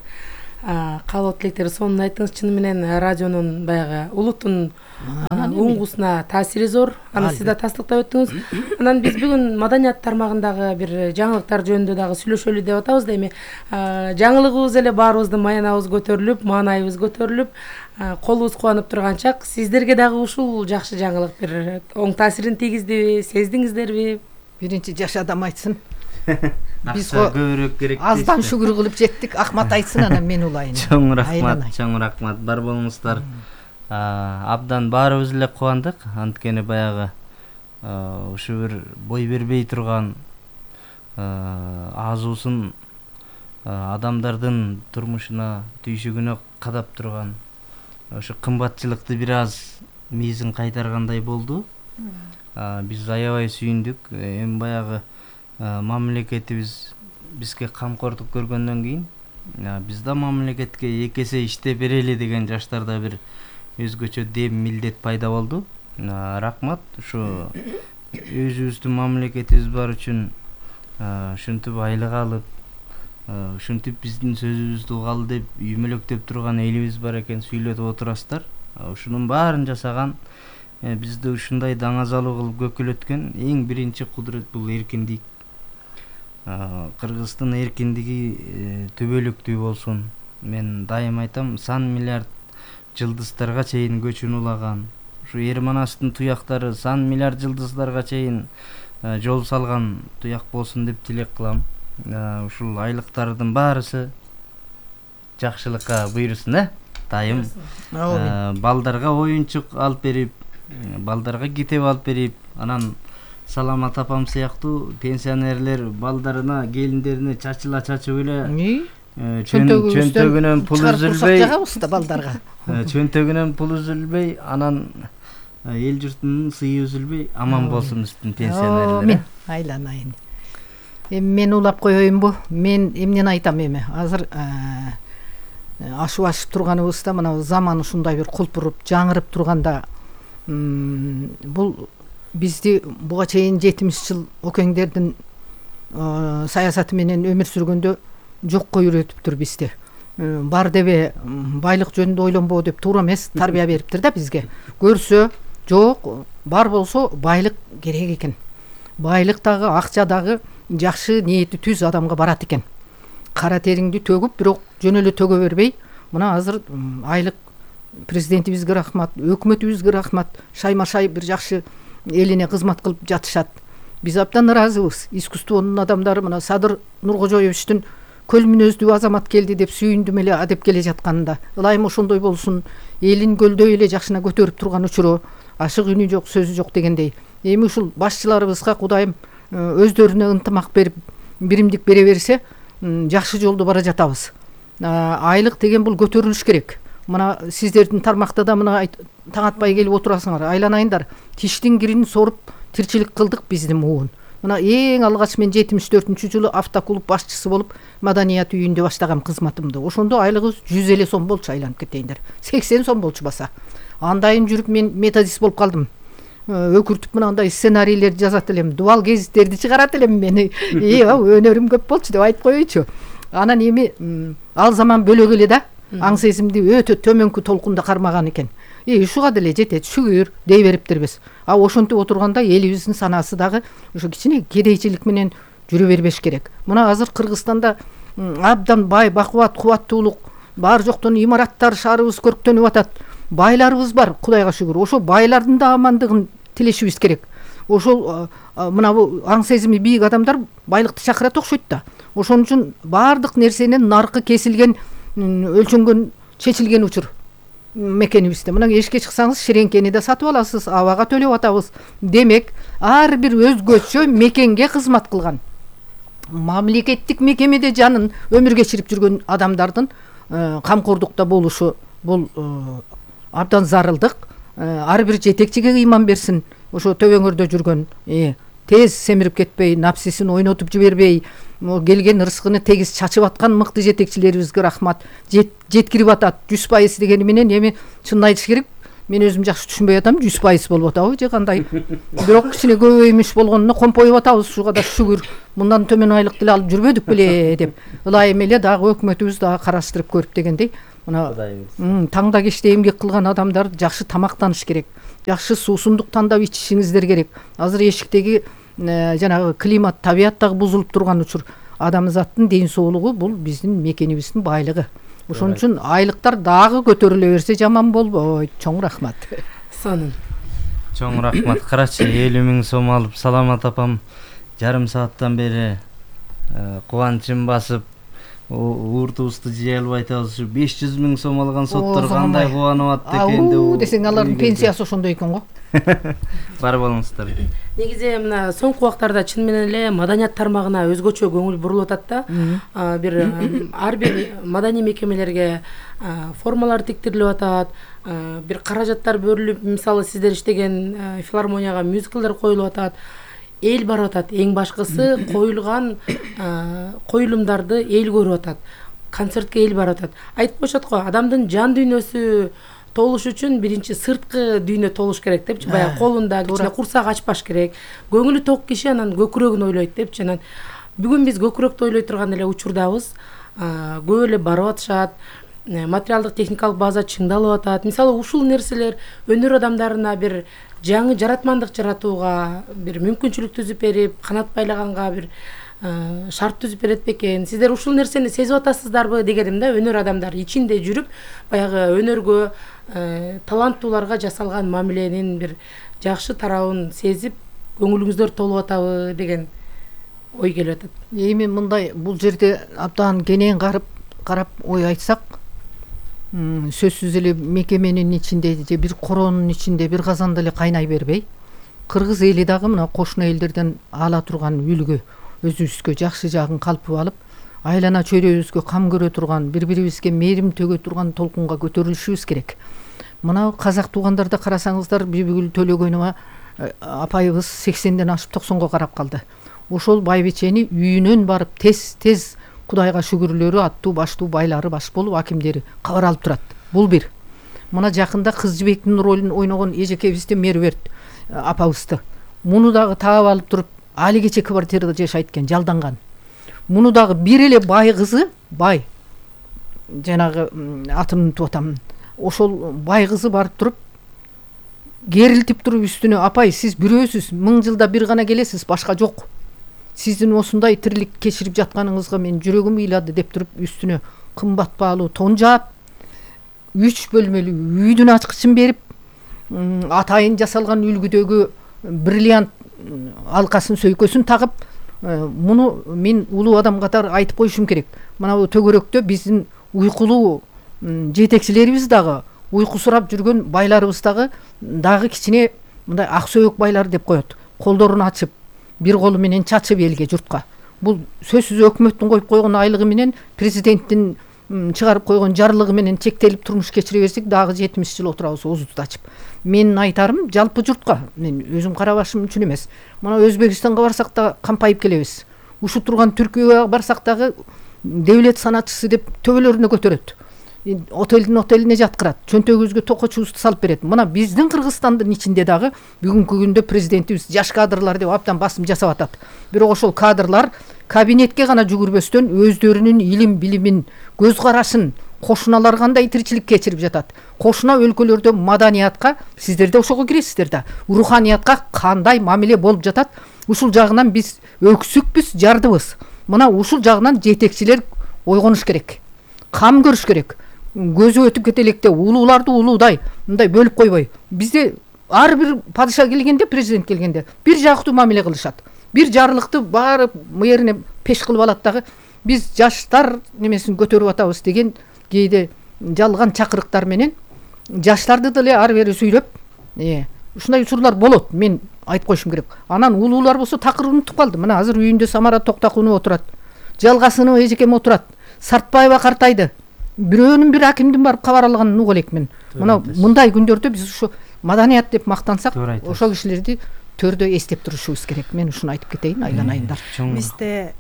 каалоо тилектер сонун айттыңыз. Чыны менен радионун баягы улуттун уңгусуна таасири зор. Аны сиз да тастыктап өттүңүз. Анан биз бүгүн маданият тармагындагы бир жаңылыктар жөнүндө дагы сүйлөшөлү деп атабыз да. Эми жаңылыгыбыз эле баарыбыздын маянабыз көтөрүлүп, маанайыбыз көтөрүлүп, колубуз кубанып турган чак. Сиздерге дагы ушул жакшы жаңылык бир оң таасирин тийгиздиби, сездиңиздерби? Биринчи жаш адам айтсын. Биз көбүрөөк керек. Аздан шүгүр кылып жеттик. Ахмат айтсын, анан мен улайын. Чоң рахмат, чоң рахмат. Бар болуңуздар. Абдан баарыбыз эле кубандык. Анткени баягы ушу бир бой бербей турган азуусун адамдардын турмушуна, түйшүгүнө кадап турган ошо кымбатчылыкты бир аз миизин кайтаргандай болду. Биз аябай сүйүндүк. Эми баягы мамлекетибиз бизге камкордук көргөндөн кийин биз да мамлекетке эки эсе иштеп берели деген жаштарда бир өзгөчө дем милдет пайда болду. Рахмат. Ушу өзүбүздүн мамлекетибиз бар үчүн ушинтип айлык алып, ушинтип биздин сөзүбүздү угалы деп үймөлөктөп турган элибиз бар экен, сүйлөтүп отурасыздар. Ушунун баарын жасаган, бизди ушундай даңазалуу кылып көкөлөткөн эң биринчи кудурет бул эркиндик. Кыргыздын эркиндиги төбөлүктүү болсун. Мен дайым айтам, сан миллиард жылдыздарга чейин көчүн улаган. Ушу Эрманастын туяктары сан миллиард жылдыздарга чейин жол салган туяк болсун деп тилек кылам. Ушул айлыктардын баарысы жакшылыкка буйрусын, э? Дайым балдарга оюнчук алып берип, балдарга китеп алып берип, анан Саламат апам сыяктуу пенсионерлер балдарына, келиндерине чачыла чачып эле чөнтөгүнөн пул үзүлбөй, жагабыз да балдарга. Чөнтөгүнөн пул үзүлбөй, анан эл журтунун сыйы үзүлбөй аман болсун биздин пенсионерлер. Айланайын. Эми мен улап коеюнбу? Мен эмнени айтам эми? Азыр ашып ашып турганыбызда мына заман ушундай бир кулпуруп, жаңырып турганда бул бизди буга чейин жетимиш жыл океңдердин саясаты менен өмүр сүргөндө жокко үйрөтүптүр бизди. Бар дебе байлык жөнүндө ойлонбоо деп туура эмес тарбия бериптир да бизге. Көрсө жок, бар болсо байлык керек экен. Байлык дагы, акча дагы жакшы ниети түз адамга барат экен. Кара териңди төгүп, бирок жөн эле төгө бербей, мына азыр айлык президентибизге рахмат, өкмөтүбүзгө рахмат, шайма-шай бир жакшы элине кызмат кылып жатышат. Биз абдан ыраазыбыз. Искусствонун адамдары мына Садыр Нуркожоевичтин көл мүнөздүү азамат келди деп сүйүндүм эле адеп келе жатканында. Ылайым ошондой болсун, элин көлдөй эле жакшына көтөрүп турган учуру, ашык үнү жок, сөзү жок дегендей. Эми ушул башчыларыбызга Кудайым өздөрүнө ынтымак берип, биримдик бере берсе, жакшы жолдо бара жатабыз. Айлык деген бул көтөрүлүш керек. Мына сиздердин тармакта да мына таң атпай келип отурасыңар. Айланайындар, тиштин кирин соруп тирчилик кылдык биздин муун. Мына эң алгач мен жетимиш төртүнчү жылы автоклуб башчысы болуп маданият үйүндө баштагам кызматымды. Ошондо айлыгыбыз жүз эле сом болчу, айланып кетейиндер. сексен сом болчу баса. Андайын жүрүп мен методист болуп калдым. Өкүртүп мынандай сценарийлерди жазат элем, дубал гезиттерди чыгарат элем мен. И, өнөрүм көп болчу деп айтып коеюучу. Анан эми ал заман бөлөк эле да. Аң сезимди өтө төмөнкү толкунда кармаган экен. И ушуга деле жетет, шүгүр дей бериптирбиз. А ошентип отурганда элибиздин санасы дагы ошо кичине кедейчилик менен жүрө бербеш керек. Мына азыр Кыргызстанда абдан бай, бакубат, кубаттуулук, бар жоктон имараттар, шаарыбыз көрктөнүп атат. Байларыбыз бар, Кудайга шүгүр. Ошо байлардын да амандыгын тилешибиз керек. Ошол мына бу аң сезими бийик адамдар байлыкты чакырат окшойт да. Ошон үчүн баардык нерсенин наркы кесилген, өлчөнгөн, чечилген учур мекенибизде. Мына эшикке чыксаңыз ширеңкени да сатып аласыз, абага төлөп атабыз. Демек, ар бир өзгөчө мекенге кызмат кылган, мамлекеттик мекемеде жанын өмүр кечирип жүргөн адамдардын камкордукта болушу бул абдан зарылдык. Ар бир жетекчиге ыйман берсин. Ошо төбөңөрдө жүргөн, тез семирип кетпей, напсисин ойнотуп жибербей, келген ырыскыны тегиз чачып аткан мыкты жетекчилерибизге рахмат. Жеткирип атат жүз пайыз дегени менен эми чынын айтыш керек, мен өзүм жакшы түшүнбөй атам, жүз пайыз болуп атабы же кандай. Бирок кичине көбөймүш болгонуна компоюп атабыз, ушуга да шүгүр. Мындан төмөн айлык деле алып жүрбөдүк беле деп. Ылайым эле дагы өкмөтүбүз дагы караштырып көрүп дегендей. Мына таңда кечте эмгек кылган адамдар жакшы тамактаныш керек. Жакшы суусундук тандап ичишиңиздер керек. Азыр эшиктеги жанагы климат, табият дагы бузулуп турган учур. Адамзаттын ден соолугу бул биздин мекенибиздин байлыгы. Ошон үчүн айлыктар дагы көтөрүлө берсе жаман болбойт. Чоң рахмат. Сонун. Чоң рахмат. Карачы элүү миң сом алып Саламат апам жарым сааттан бери кубанычын басып ууртубузду жей албай атабыз. беш жүз миң сом алган соттор кандай кубанып атты экен деп. Десең алардын пенсиясы ошондой экен го. Бар болуңуздар. Негизи мына соңку убактарда чын менен эле маданият тармагына өзгөчө көңүл бурулуп атат да. Бир ар бир маданий мекемелерге формалар тиктирилип атат, бир каражаттар бөлүнүп, мисалы сиздер иштеген филармонияга мюзиклдер коюлуп атат. Эл барып атат. Эң башкысы коюлган коюлумдарды эл көрүп атат. Концертке эл барып атат. Айтып коюшат го, адамдын жан дүйнөсү толуш үчүн биринчи сырткы дүйнө толуш керек депчи. Баягы колунда кичине курсак ачпаш керек. Көңүлү ток киши анан көкүрөгүн ойлойт депчи. Анан бүгүн биз көкүрөктү ойлой турган эле учурдабыз. Көп эле барып атышат. Материалдык техникалык база чыңдалып атат. Мисалы ушул нерселер өнөр адамдарына бир жаңы жаратмандык жаратууга бир мүмкүнчүлүк түзүп берип, канат байлаганга бир шарт түзүп берет бекен. Сиздер ушул нерсени сезип атасыздарбы дегеним да, өнөр адамдар ичинде жүрүп, баягы өнөргө, таланттууларга жасалган мамиленин бир жакшы тарабын сезип, көңүлүңүздөр толуп атабы деген ой келип атат. Эми мындай бул жерде абдан кенен карап карап ой айтсак, сөзсүз эле мекеменин ичинде же бир коронун ичинде бир казанда эле кайнай бербей, кыргыз эли дагы мына кошуна элдерден ала турган үлгү, өзүбүзгө жакшы жагын калпып алып, айлана чөйрөбүзгө кам көрө турган, бири-бирибизге мээрим төгө турган толкунга көтөрүлүшүбүз керек. Мына казак туугандарда карасаңыздар, Бибигүл Төлөгөнова апайыбыз сексенден ашып токсонго карап калды. Ошол байбичени үйүнөн барып тез-тез Кудайга шүгүрлөрү, аттуу баштуу байлары баш болуп, акимдери кабар алып турат. Бул бир. Мына жакында Кыз жибектин ролун ойногон эжекебизди Мерверт апабызды. Муну дагы таап алып туруп, али кече квартирада жашайт экен, жалданган. Муну дагы бир эле бай кызы, бай. Жанагы атын унутуп атам. Ошол бай кызы барып туруп, керилтип туруп үстүнө, апай, сиз бирөөсүз, миң жылда бир гана келесиз, башка жок. Сиздин осундай тирилик кечирип жатканыңызга мен жүрөгүм ыйлады деп туруп үстүнө кымбат баалуу тон жаап, үч бөлмөлүү үйдүн ачкычын берип, атайын жасалган үлгүдөгү бриллиант алкасын, сөйкөсүн тагып, муну мен улуу адам катары айтып коюшум керек. Мына бул төгөрөктө биздин уйкулуу жетекчилерибиз дагы, уйку сурап жүргөн байларыбыз дагы дагы кичине мындай ак сөөк байлар деп коет. Колдорун ачып, бир колу менен чачып элге, журтка. Бул сөзсүз өкмөттүн коюп койгон айлыгы менен, президенттин чыгарып койгон жарлыгы менен чектелип турмуш кечире берсек, дагы жетимиш жыл отурабыз оозубузду ачып. Менин айтарым жалпы журтка, мен өзүм карабашым үчүн эмес. Мына Өзбекстанга барсак да кампайып келебиз. Ушу турган Түркияга барсак дагы девлет санатчысы деп төбөлөрүнө көтөрөт. Отелдин отелине жаткырат, чөнтөгүбүзгө токочубузду салып берет. Мына биздин Кыргызстандын ичинде дагы бүгүнкү күндө президентибиз жаш кадрлар деп абдан басым жасап атат. Бирок ошол кадрлар кабинетке гана жүгүрбөстөн өздөрүнүн илим билимин, көз карашын, кошуналар кандай тиричилик кечирип жатат. Кошуна өлкөлөрдө маданиятка, сиздер да ошого киресиздер да, руханиятка кандай мамиле болуп жатат, ушул жагынан биз өксүкпүз, жардыбыз. Мына ушул жагынан жетекчилер ойгонуш керек. Кам көрүш керек. Көзү өтүп кете электе улууларды улуудай мындай бөлүп койбой. Бизде ар бир падыша келгенде, президент келгенде бир жактуу мамиле кылышат. Бир жарлыкты баары мэрине пеш кылып алат дагы, биз жаштар немесин көтөрүп атабыз деген кээде жалган чакырыктар менен жаштарды деле ары бери сүйлөп, э, ушундай учурлар болот. Мен айтып коюшум керек. Анан улуулар болсо такыр унутуп калды. Мына азыр үйүндө Самара Токтакунова отурат. Жалгасынова эжекем отурат. Сартбаева картайды. Бирөөнүн бир акимдин барып кабар алганын угуп элекмин. Мына мындай күндөрдө биз ушу маданият деп мактансак, ошол кишилерди төрдө эстеп турушубуз керек. Мен ушуну айтып кетейин, айланайындар. Бизде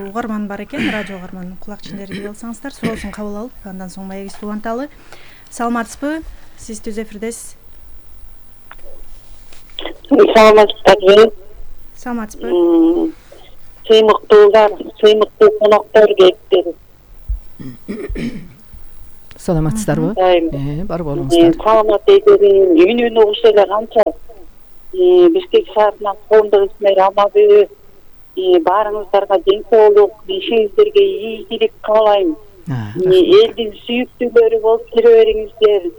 угарман бар экен, радио угарман, кулак чендерди алсаңыздар, суроосун кабыл алып, андан соң маегибизди уланталы. Саламатсызбы? Сиз түз эфирдесиз. Саламатсыздарбы? Саламатсызбы? Сыймыктуулар, сыймыктуу коноктор келиптир. Саламатсыздарбы? Э, бар болуңуздар. Саламат эдерин үнүн угуш эле канча Бишкек шаарынан коомдук ишмер алмабы. Баарыңыздарга ден соолук, ишиңиздерге ийгилик каалайм. Элдин сүйүктүүлөрү болуп жүре бериңиздер.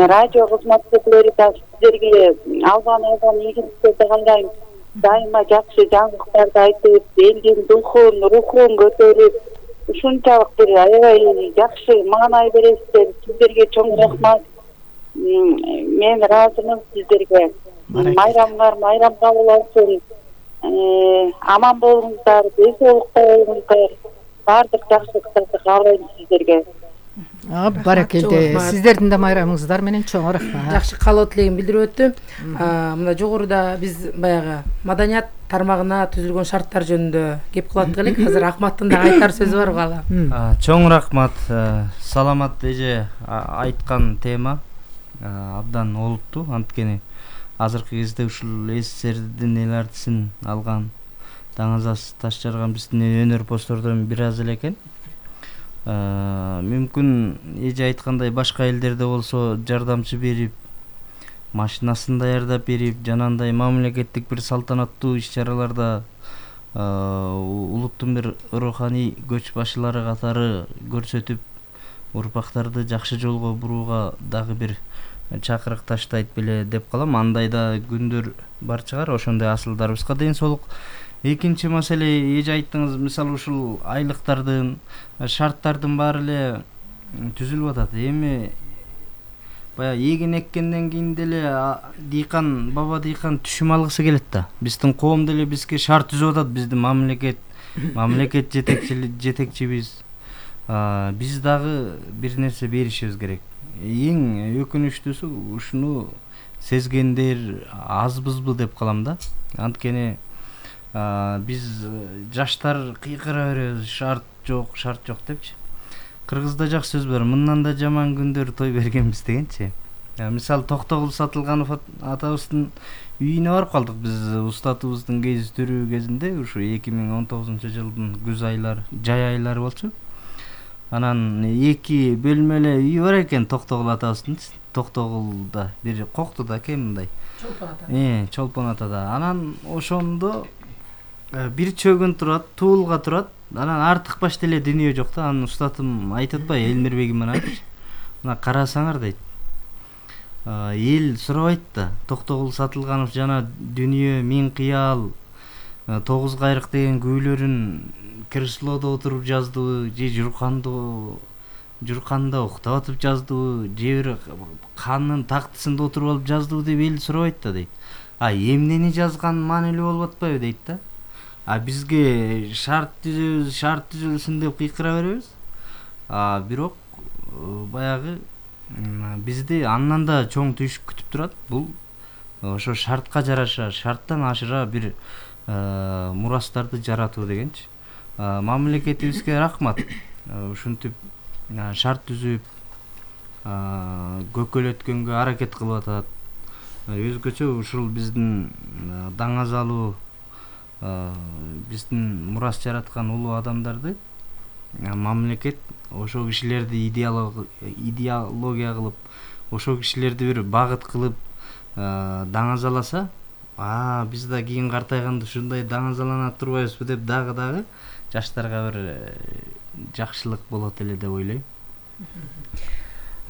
Радио кызматкерлери да сиздерге албан албан ийгиликтерди каалайм. Дайыма жакшы жаңылыктарды айтып, элдин духун, рухун көтөрүп, ушунчалык бир аябай жакшы маанай бересиздер. Сиздерге чоң рахмат. Мен ыраазымын сиздерге. Майрамыңар майрам кабыл болсун. Аман болуңуздар, ден соолукта болуңуздар. Баардык жакшылыктарды каалайм сиздерге. Баракелде. Сиздердин да майрамыңыздар менен чоң рахмат. Жакшы каалоо тилегин билдирип өттү. Мына жогоруда биз баягы маданият тармагына түзүлгөн шарттар жөнүндө кеп кылат элек. Азыр Акматтын да айтар сөзү бар кала. Чоң рахмат. Саламат эже айткан тема абдан олуттуу. Анткени азыркы кезде ушул СССРдин эл артисын алган, даңазасы таш жарган биздин өнөр постордон бир аз эле экен. Мүмкүн эже айткандай башка элдерде болсо жардамчы берип, машинасын даярдап берип, жанагындай мамлекеттик бир салтанаттуу иш-чараларда улуттун бир руханий көч башылары катары көрсөтүп, урпактарды жакшы жолго бурууга дагы бир чакырык таштайт беле деп калам. Андай да күндөр бар чыгар. Ошондой асылдарыбызга ден соолук. Экинчи маселе, эже айттыңыз, мисалы ушул айлыктардын, шарттардын баары эле түзүлүп атат. Эми баягы эгин эккенден кийин деле дыйкан, баба дыйкан түшүм алгысы келет да. Биздин коом деле бизге шарт түзүп атат. Биздин мамлекет, мамлекет жетекчибиз. Биз дагы бир нерсе беришибиз керек. Эң өкүнүчтүүсү ушуну сезгендер азбызбы деп калам да. Анткени биз жаштар кыйкыра беребиз, шарт жок, шарт жок депчи. Кыргызда жакшы сөз бар, мындан да жаман күндөр той бергенбиз дегенчи. Мисалы Токтогул Сатылганов атабыздын үйүнө барып калдык биз устатыбыздын кездештирүү кезинде, ушу эки миң он тогузунчу жылдын күз айлары, жай айлары болчу. Анан эки бөлмөлүү үй бар экен Токтогул атабыздын. Токтогулда бир Коктуда экен мындай. Чолпон ата. Э, Чолпон атада. Анан ошондо бир чөгүн турат, туулга турат. Анан артык баш деле дүнүйө жок да. Анын устатым айтып атпайбы, Элмирбегим мына айтчы. Мына карасаңар дейт. Эл сурабайт да. Токтогул Сатылганов жана дүнүйө миң кыял, тогуз кайрык деген күүлөрүн креслодо отуруп жаздыбы, же журкандо журканда уктап атып жаздыбы, же бир ханнын тактысында отуруп алып жаздыбы деп эл сурабайт да дейт. А эмнени жазган маанилүү болуп атпайбы дейт да. А бизге шарт түзөбүз, шарт түзүлсүн деп кыйкыра беребиз. А бирок баягы бизди андан да чоң түйшүк күтүп турат. Бул ошо шартка жараша, шарттан ашыра бир мурастарды жаратуу дегенчи. Мамлекетибизге рахмат. Ушинтип шарт түзүп көкөлөткөнгө аракет кылып атат. Өзгөчө ушул биздин даңазалуу, биздин мурас жараткан улуу адамдарды мамлекет ошо кишилерди идеология кылып, ошо кишилерди бир багыт кылып даңазаласа, а биз да кийин картайганда ушундай даңазалана турбайбызбы деп дагы дагы жаштарга бир жакшылык болот эле деп ойлойм.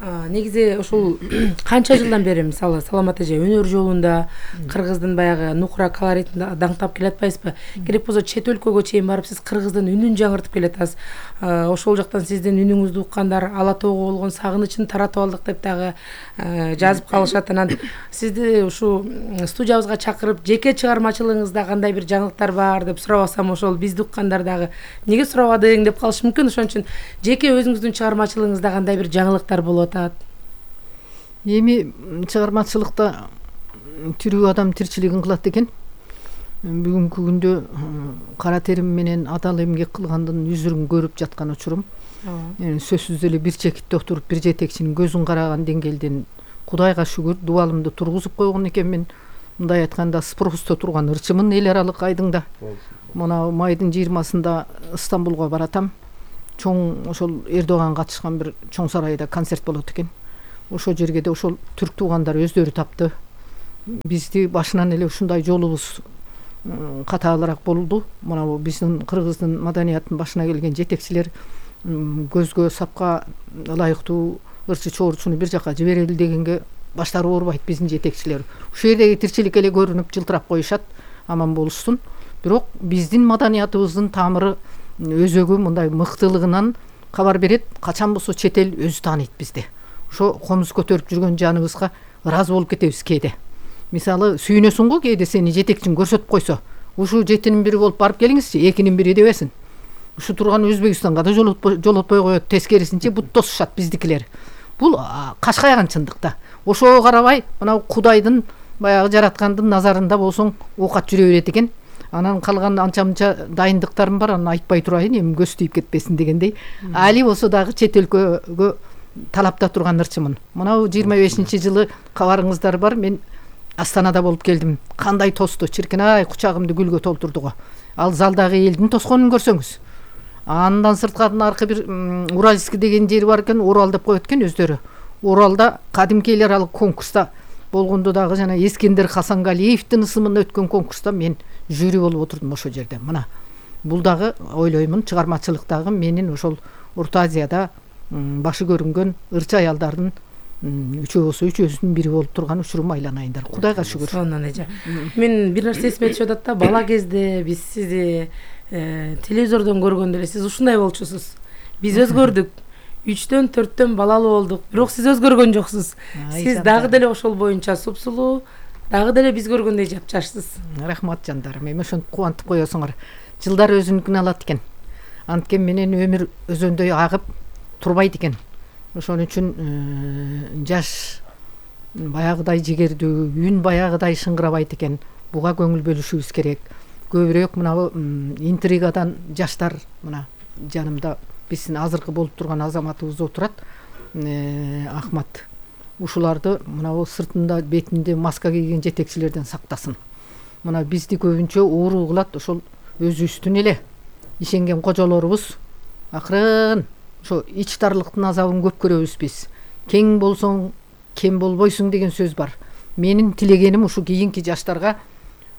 Негизи ушул канча жылдан бери мисалы Саламат эже өнөр жолунда кыргыздын баягы нукура колоритин даңктап келатпайсызбы? Керек болсо чет өлкөгө чейин барып сиз кыргыздын үнүн жаңыртып келатасыз. Ошол жактан сиздин үнүңүздү уккандар Ала тоого болгон сагынычын таратып алдык деп дагы жазып калышат. Анан сизди ушу студиябызга чакырып жеке чыгармачылыгыңызда кандай бир жаңылыктар бар деп сурабасам, ошол бизди уккандар дагы неге сурабадың деп калышы мүмкүн. Ошон үчүн жеке өзүңүздүн чыгармачылыгыңызда кандай бир жаңылыктар болот? Эми чыгармачылыкта тирүү адам тирчилигин кылат экен. Бүгүнкү күндө кара терим менен адал эмгек кылгандын үзүрүн көрүп жаткан учурум. Сөзсүз эле бир чекитте отуруп бир жетекчинин көзүн караган деңгээлден Кудайга шүгүр дубалымды тургузуп койгон экенмин. мындай айтканда спросто турган ырчымын эл аралык айдыңда. Мына майдын жыйырмасында Стамбулга баратам. Чоң ошол Эрдоган катышкан бир чоң сарайда концерт болот экен. Ошол жерге да ошол түрк туугандар өздөрү тапты. Бизди башынан эле ушундай жолубуз катаалыраак болду. Мына бу биздин кыргыздын маданиятынын башына келген жетекчилер көзгө сапка ылайыктуу ырчы чоорчуну бир жака жиберели дегенге баштары оорубайт биздин жетекчилер. Ушул жердеги тирчилик эле көрүнүп жылтырап коюшат, аман болушсун. Бирок биздин маданиятыбыздын тамыры өзөгү мындай мыктылыгынан кабар берет. Качан болсо чет эл өзү тааныйт бизди. Ошо комуз көтөрүп жүргөн жаныбызга ыраазы болуп кетебиз кээде. Мисалы сүйүнөсүң го кээде сени жетекчиң көрсөтүп койсо, ушул жетинин бири болуп барып келиңизчи, экинин бири дебесин. Ушу турган Өзбекстанга да жолотпой коет, тескерисинче бут тосушат биздикилер. Бул кашкайган чындыкта. Ошого карабай мына Кудайдын баягы жараткандын назарында болсоң оокат жүрө берет экен. Анан калган анча-мынча дайындыктарым бар, аны айтпай турайын, эми көз тийип кетпесин дегендей. Али болсо дагы чет өлкөгө талапта турган ырчымын. Мына жыйырма бешинчи жылы кабарыңыздар бар, мен Астанада болуп келдим. Кандай тосту, чиркин-ай, кучагымды гүлгө толтурду го. Ал залдагы элдин тосконун көрсөңүз. Андан сырткатын аркы бир Уральск деген жери бар экен, Урал деп коет экен өздөрү. Уралда кадимки эл аралык конкурста болгондо дагы жана Эскендер Хасангалиевдин ысымында өткөн конкурста мен жюри болуп отурдум ошол жерде. Мына бул дагы ойлоймун чыгармачылыктагы менин ошол Орто Азияда башы көрүнгөн ырчы аялдардын үчөө болсо үчөөсүнүн бири болуп турган учурум айланайындар. Кудайга шүгүр. Сонун эже. Мен бир нерсе эсиме түшүп атат да, бала кезде биз сизди телевизордон көргөндө эле сиз ушундай болчусуз. Биз өзгөрдүк. үчтөн төрттөн балалуу болдук, бирок сиз өзгөргөн жоксуз. Сиз дагы деле ошол боюнча супсулуу, дагы деле биз көргөндөй жапжашсыз. Рахмат жандарым, эми ошентип кубантып коесуңар. Жылдар өзүнүкүн алат экен. Анткен менен өмүр өзөндөй агып турбайт экен. Ошон үчүн жаш баягыдай жигердүү, үн баягыдай шыңгырабайт экен. Буга көңүл бөлүшүбүз керек. Көбүрөөк мына интригадан жаштар мына жанымда биздин азыркы болуп турган азаматыбыз отурат. Ахмат. Ушуларды мына сыртында бетинде маска кийген жетекчилерден сактасын. Мына бизди көбүнчө оору кылат ошол өзүбүздүн эле ишенген кожолорубуз. Акырын ошо ич дарлыктын азабын көп көрөбүз биз. Кең болсоң кем болбойсуң деген сөз бар. Менин тилегеним ушу кийинки жаштарга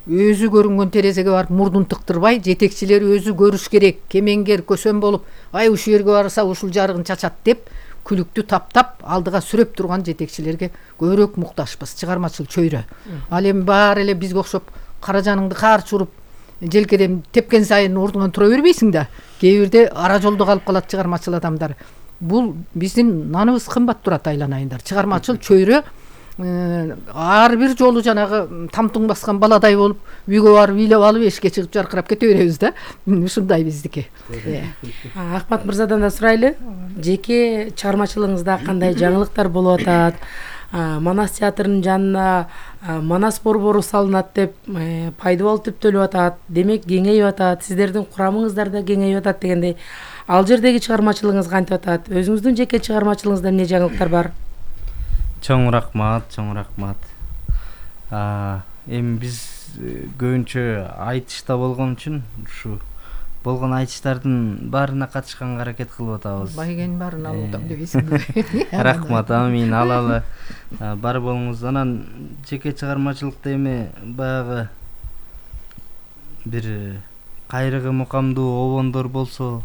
өзү көрүнгөн терезеге барып мурдун тыктырбай, жетекчилер өзү көрүш керек, кемеңгер, көсөм болуп, ай ушул жерге барса ушул жарыгын чачат деп, күлүктү таптап, алдыга сүрөп турган жетекчилерге көбүрөөк мукташпыз, чыгармачыл чөйрө. Ал эми баары эле бизге окшоп кара жаныңды каарч уруп, желкеден тепкен сайын ордуңан тура бербейсиң да. Кээ бирде ара жолдо калып калат чыгармачыл адамдар. Бул биздин наныбыз кымбат турат айланайындар. Чыгармачыл чөйрө ар бир жолу жанагы тамтуң баскан баладай болуп, үйгө барып үйлөп алып эшикке чыгып жаркырап кете беребиз да. Ушундай биздики. Ахмат мырзадан да сурайлы. Жеке чыгармачылыгыңызда кандай жаңылыктар болуп атат? Манас театрынын жанына Манас борбору салынат деп пайдубал түптөлүп атат. Демек кеңейип атат. Сиздердин курамыңыздар да кеңейип атат дегендей. Ал жердеги чыгармачылыгыңыз кантип атат? Өзүңүздүн жеке чыгармачылыгыңызда эмне жаңылыктар бар? Чоң рахмат, чоң рахмат. Эми биз көбүнчө айтышта болгон үчүн ушу болгон айтыштардын баарына катышканга аракет кылып атабыз. Байгенин баарын алып атам дебейсиңби? Рахмат, амин, алалы. Бар болуңуз. Анан жеке чыгармачылыкта эми баягы бир кайрыгы мукамдуу обондор болсо,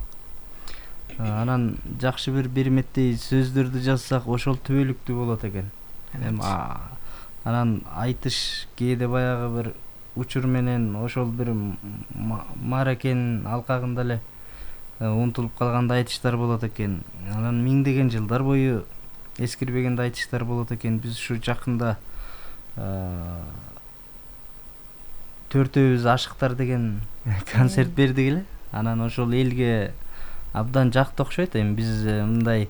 анан жакшы бир берметтей сөздөрдү жазсак, ошол түбөлүктүү болот экен. Эми анан айтыш кээде баягы бир учур менен ошол бир мааракенин алкагында эле унутулуп калгандай айтыштар болот экен. Анан миңдеген жылдар бою эскирбегенде айтыштар болот экен. Биз ушу жакында төртөөбүз ашыктар деген концерт бердик эле. Анан ошол элге абдан жакты окшойт. Эми биз мындай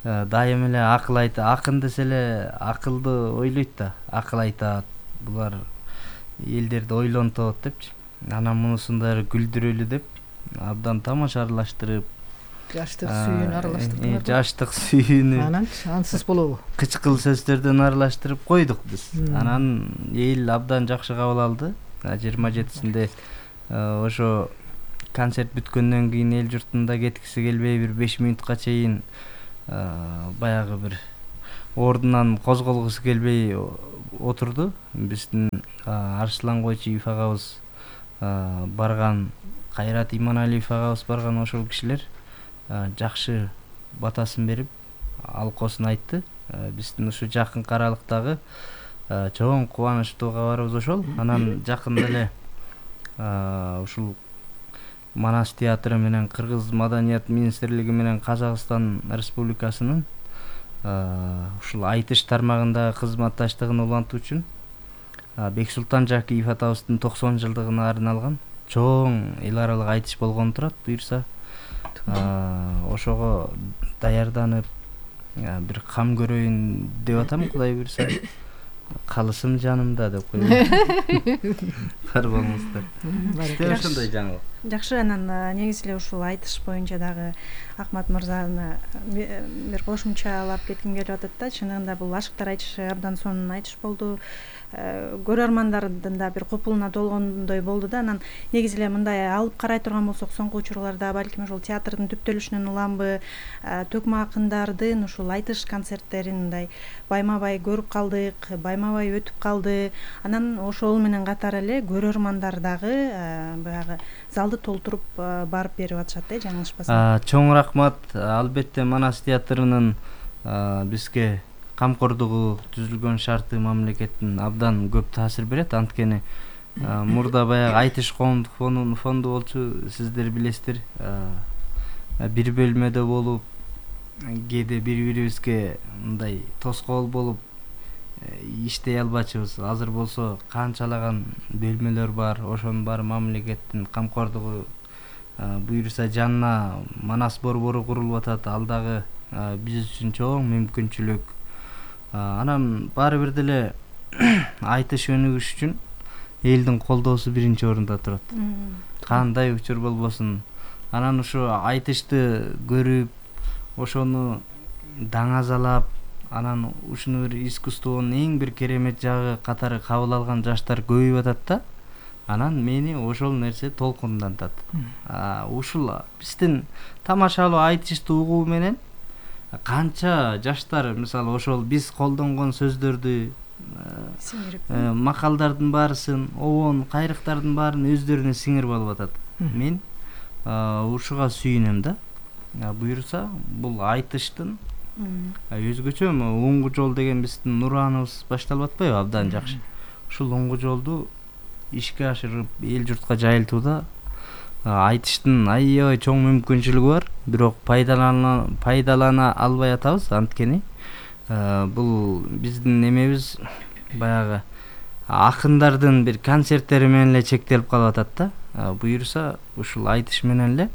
дайым эле акыл айтат, акын десе эле акылды ойлойт да, акыл айтат. Булар элдерди ойлонтот депчи. Анан мунусунда күлдүрөлү деп абдан тамаша аралаштырып, жаштык сүйүүнү аралаштырдыңар. Жаштык сүйүүнү. Анан ансыз болобу? Кычкыл сөздөрдөн аралаштырып койдук биз. Анан эл абдан жакшы кабыл алды. жыйырма жетисинде ошо концерт бүткөндөн кийин эл журтунда кеткиси келбей бир беш мүнөткө чейин баягы бир ордунан козголгусу келбей отурду. Биздин Арслан Койчиев агабыз барган, Кайрат Иманалиев агабыз барган ошол кишилер жакшы батасын берип, алкоосун айтты. Биздин ушу жакынкы аралыктагы чоң кубанычтуу кабарыбыз ошол. Анан жакында эле ушул Манас театры менен Кыргыз Маданият министрлиги менен Казакстан Республикасынын ушул айтыш тармагындагы кызматташтыгын улантуу үчүн Бексултан Жакиев атабыздын токсон жылдыгына арналган чоң эл аралык айтыш болгон турат. Буюрса ошого даярданып бир кам көрөйүн деп атам, Кудай буйрса. Калысым жанымда деп коеюн. Бар болуңуздар. Сизде ошондой жаңылык. Жакшы, анан негизи эле ушул айтыш боюнча дагы Акмат мырзаны бир кошумчалап кетким келип атат да. Чынында бул Ашыктар айтышы абдан сонун айтыш болду. Көрөрмандардын да бир купулуна толгондой болду да. Анан негизи эле мындай алып карай турган болсок, соңку учурларда балким ошол театрдын түптөлүшүнөн уламбы төкмө акындардын ушул айтыш концерттерин мындай байма-бай көрүп калдык, байма-бай өтүп калды. Анан ошол менен катар эле көрөрмандар дагы баягы залды толтуруп барып берип атышат да, жаңылышпасам. Чоң рахмат. Албетте Манас театрынын бизге камкордугу, түзүлгөн шарты мамлекеттин абдан көп таасир берет. Анткени мурда баягы айтыш фонду болчу, сиздер билесиздер. Бир бөлмөдө болуп, кээде бири-бирибизге мындай тоскоол болуп иштей албачубуз. Азыр болсо канчалаган бөлмөлөр бар, ошонун баары мамлекеттин камкордугу буйруса жанына Манас борбору курулуп атат. Ал дагы биз үчүн чоң мүмкүнчүлүк. Анан баары бир деле айтыш өнүгүш үчүн элдин колдоосу биринчи орунда турат. Кандай учур болбосун. Анан ушу айтышты көрүп, ошону даңазалап, анан ушуну бир искусствонун эң бир керемет жагы катары кабыл алган жаштар көбөйүп атат да. Анан мени ошол нерсе толкундантат. Ушул биздин тамашалуу айтышты угуу менен канча жаштар, мисалы ошол биз колдонгон сөздөрдү, макалдардын баарысын, обон, кайрыктардын баарын өздөрүнө сиңирип алып атат. Мен ушуга сүйүнөм да. Буйруса бул айтыштын өзгөчө оңгу жол деген биздин Нураныбыз башталып атпайбы? Абдан жакшы. Ушул оңгу жолду ишке ашырып эл журтка жайылтууда айтыштын аябай чоң мүмкүнчүлүгү бар. Бирок пайдалана пайдалана албай атабыз. Анткени бул биздин эмебиз баягы акындардын бир концерттери менен эле чектелип калып атат да. Буйруса ушул айтыш менен эле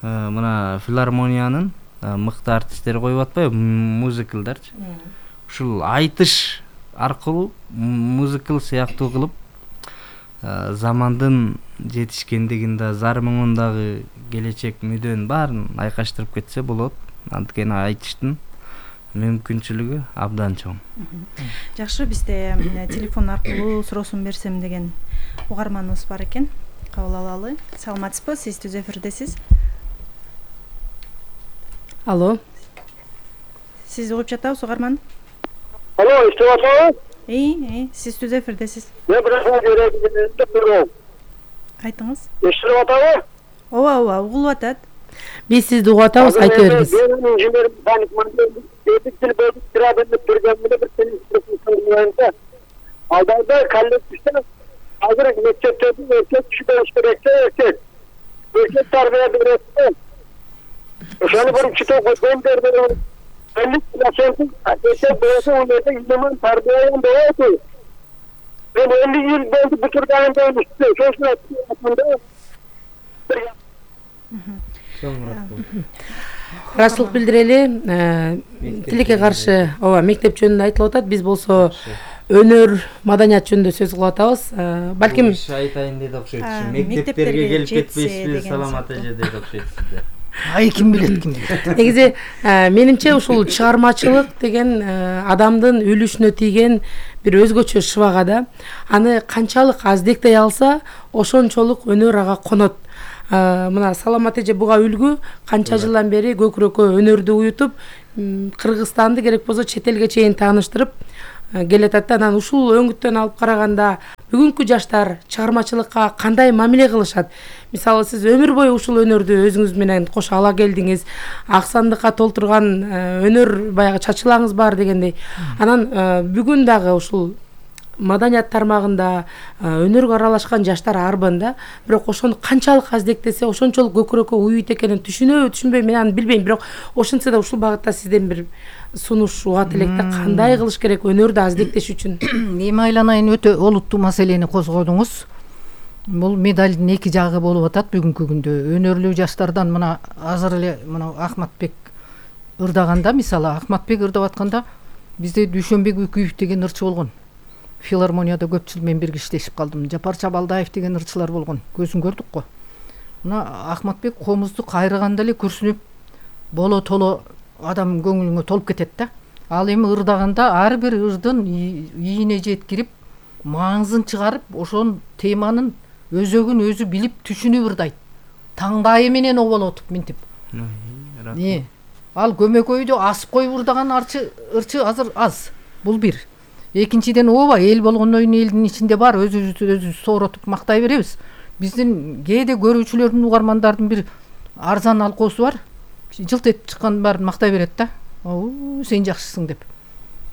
мына филармониянын мыкты артисттери коюп атпайбы, музыкалдарчы. Ушул айтыш аркылуу музыкал сыяктуу кылып замандын жетишкендигин да, зар муңун дагы, келечек мүдөн баарын айкаштырып кетсе болот. Анткени айтыштын мүмкүнчүлүгү абдан чоң. Жакшы, бизде телефон аркылуу суроосун берсем деген угарманыбыз бар экен. Кабыл алалы. Саламатсызбы? Сиз түз эфирдесиз. Алло. Сиз угуп жатабыз, угарман? Алло, иштеп атабы? Ий, сиз түз эфирдесиз. Мен бирок көрөм. Айтыңыз. Иштеп атабы? Ооба, ооба, угулуп атат. Биз сизди угуп атабыз, айта бериңиз. Менин инженерим Таник Мандел, бетил бетил тирабенде биргемде бир телефон. Алдайда коллективде азыр мектептерде эркек киши болуш керек, эркек. Эркек тарбия берет. Ошону бир чыта койгон жерде элүү процент эркек болсо өнөрдө иман тарбиядан болот. Мен элүү жыл болду бүтүргөнүмдө эмес. Ошону Ыраазычылык билдирели. Тилекке каршы ооба мектеп жөнүндө айтылып атат. Биз болсо өнөр, маданият жөнүндө сөз кылып атабыз. Балким айтайын деди окшойт. Мектептерге келип кетпейсизби, саламат эже деди окшойт сизде. ай ким билет ким билет. Негизи менимче ушул чыгармачылык деген адамдын үлүшүнө тийген бир өзгөчө шыбага да. Аны канчалык аздектей алса, ошончолук өнөр ага конот. Мына Саламат эже буга үлгү, канча жылдан бери көкүрөккө өнөрдү уютуп, Кыргызстанды керек болсо чет элге чейин тааныштырып келатат. Анан ушул өңүттөн алып караганда бүгүнкү жаштар чыгармачылыкка кандай мамиле кылышат? Мисалы сиз өмүр бою ушул өнөрдү өзүңүз менен кошо ала келдиңиз, ак сандыкка толтурган өнөр баягы чачылаңыз бар дегендей. Анан бүгүн дагы ушул маданият тармагында өнөргө аралашкан жаштар арбын да, бирок ошону канчалык аздектесе ошончолук көкүрөккө уют экенин түшүнөбү, түшүнбөйм, мен аны билбейм, бирок ошентсе да ушул багытта сизден бир сунуш угат электе, кандай кылыш керек өнөрдү аздектеш үчүн? Эми айланайын, өтө олуттуу маселени козгодуңуз. Бул медалдын эки жагы болуп атат бүгүнкү күндө. Өнөрлүү жаштардан мына азыр эле мына Ахматбек ырдаганда, мисалы Ахматбек ырдап атканда бизде Дүйшөнбек Үкүев деген ырчы болгон. Филармонияда көп жыл мен бирге иштешип калдым. Жапар Чабалдаев деген ырчылар болгон. Көзүн көрдүк го. Мына Ахматбек комузду кайрыганда эле күрсүнүп, боло толо адам көңүлүңө толуп кетет да. Ал эми ырдаганда ар бир ырдын ийине жеткирип, маңызын чыгарып, ошон теманын өзөгүн өзү билип, түшүнүп ырдайт. Таңдайы менен оболотуп минтип. Не? Ал көмөкөйдө асып коюп ырдаган ырчы ырчы азыр аз. Бул бир. Экинчиден ооба, эл болгондон кийин элдин ичинде бар, өзүбүздү өзүбүз сооротуп мактай беребиз. Биздин кээде көрүүчүлөрдүн, угармандардын бир арзан алкоосу бар. Жылт этип чыккан баарын мактай берет да. Оо, сен жакшысың деп.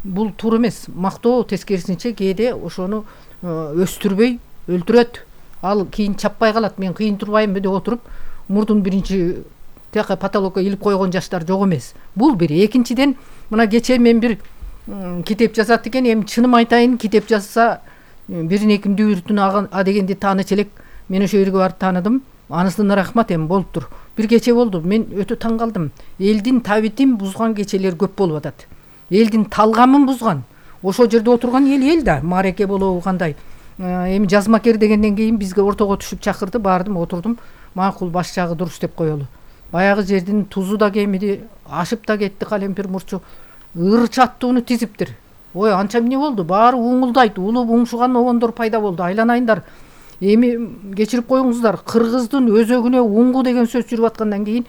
Бул туура эмес. Мактоо тескерисинче кээде ошону өстүрбөй өлтүрөт. Ал кийин чаппай калат. Мен кыйын турбаймынбы деп отуруп, мурдун биринчи тияка потолокко илип койгон жаштар жок эмес. Бул бир. Экинчиден, мына кечээ мен бир китеп жазат экен, эми чыным айтайын, китеп жазса бирин эким дүйүртүн а дегенди тааныч элек. Мен ошо жерге барып тааныдым. Анысына рахмат, эми болуптур. Бир кече болду, мен өтө таң калдым. Элдин табитин бузган кечелер көп болуп атат. Элдин талгамын бузган. Ошол жерде отурган эл эл да, мареке болобу кандай. Эми жазмакер дегенден кийин бизге ортого түшүп чакырды, бардым, отурдум. Макул, баш жагы дурус деп коелу. Баягы жердин тузу да кемиди, ашып да кетти, калемпир мурчу. Ыр чаттууну тизиптир. Ой, анча эмне болду? Баары уңулдайт, улуп уңшуган обондор пайда болду. Айланайындар. Эми кечирип коюңуздар, кыргыздын өзөгүнө уңгу деген сөз жүрүп аткандан кийин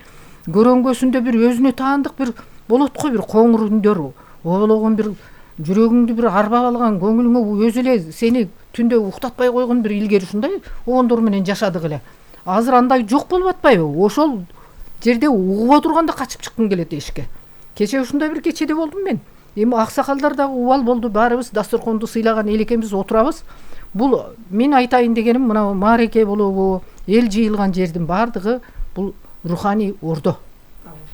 көрөңгөсүндө бир өзүнө таандык бир болот го, бир коңур үндөр, обологон бир жүрөгүңдү бир арбап алган, көңүлүңө өзү эле сени түндө уктатпай койгон бир илгери ушундай обондор менен жашадык эле. Азыр андай жок болуп атпайбы? Ошол жерде угуп отурганда качып чыккың келет эшикке. Кече ушундай бир кечеде болдум мен. Эми аксакалдар дагы убал болду, баарыбыз дасторконду сыйлаган эл экенбиз, отурабыз. Бул мен айтайын дегеним, мына мареке болобу, эл жыйылган жердин баардыгы бул руханий ордо.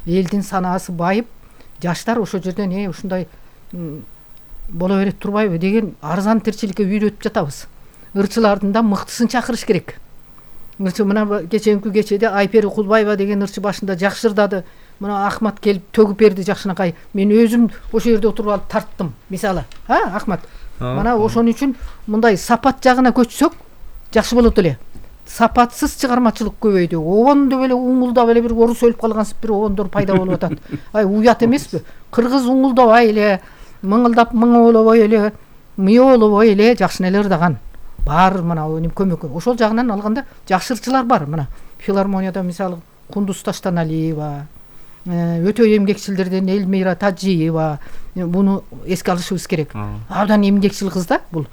Элдин санаасы байып, жаштар ошол жерден э ушундай боло берет турбайбы деген арзан тирчиликке үйрөтүп жатабыз. Ырчылардын да мыктысын чакырыш керек. Ырчы мына кеченки кечеде Айпери Кулбаева деген ырчы башында жакшы ырдады. Мына Ахмат келип төгүп берди жакшынакай. Мен өзүм ошол жерде отуруп алып тарттым, мисалы. А, Ахмат? Мына ошон үчүн мындай сапат жагына көчсөк жакшы болот эле. Сапатсыз чыгармачылык көбөйдү. Обондо эле уңулдап эле бир орус өлүп калгансып бир обондор пайда болуп атат. Ай, уят эмеспи? Кыргыз уңулдабай эле, мыңылдап мыңолобой эле, мыйолобой эле жакшы эле ырдаган. Бар мына көмөкө. Ошол жагынан алганда жакшы ырчылар бар. Мына филармонияда мисалы Кундуз Таштаналиева, өтө эмгекчилдерден Элмира Таджиева, буну эске алышыбыз керек. Абдан эмгекчил кыз да, бул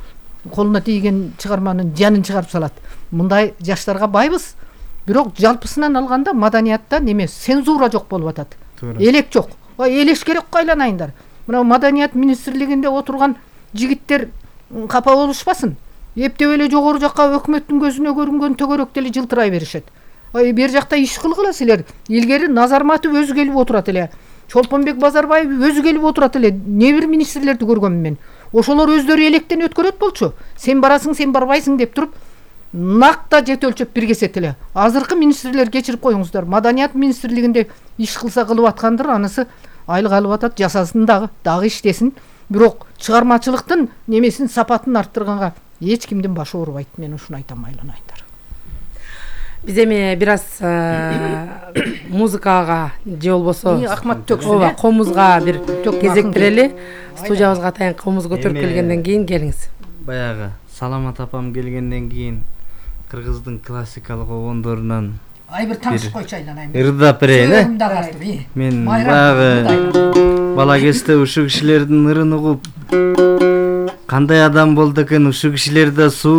колуна тийген чыгарманын жанын чыгарып салат. Мындай жаштарга байбыз. Бирок жалпысынан алганда маданиятта неме цензура жок болуп атат. Элек жок. Элеш керек кайланайындар. Мына маданият министрлигинде отурган жигиттер капа болушпасын. Эптеп эле жогору жакка өкмөттүн көзүнө көрүнгөн төгөрөк деле жылтырай беришет. Ай, бер жакта иш кылгыла силер. Илгери Назарматов өзү келип отурат эле. Чолпонбек Базарбаев өзү келип отурат эле. Не бир министрлерди көргөмүн мен. Ошолор өздөрү электен өткөрөт болчу. Сен барасың, сен барбайсың деп туруп, накта жет өлчөп биргесет эле. Азыркы министрлер кечирип коюңуздар. Маданият министрлигинде иш кылса кылып аткандыр, анысы айлык алып атат, жасасын дагы, дагы иштесин. Бирок чыгармачылыктын немесин, сапатын арттырганга эч кимдин башы оорубайт. Мен ушуну айтам, айланайындар. Биз эми бир аз музыкага же болбосо Акмат төксүн, ооба, комузга бир Төкмө кезек акын берели. Студиябызга атайын комуз көтөрүп Эми- келгенден кийин келиңиз. Баягы Саламат апам келгенден кийин кыргыздын классикалык обондорунан Ай бир таңшып койчу айланайын. ырдап берейин, э? Сөзүмдү агартып, ии. Мен Майрам, баягы бала кезде ушул кишилердин ырын угуп кандай адам болду экен, ушул кишилер да суу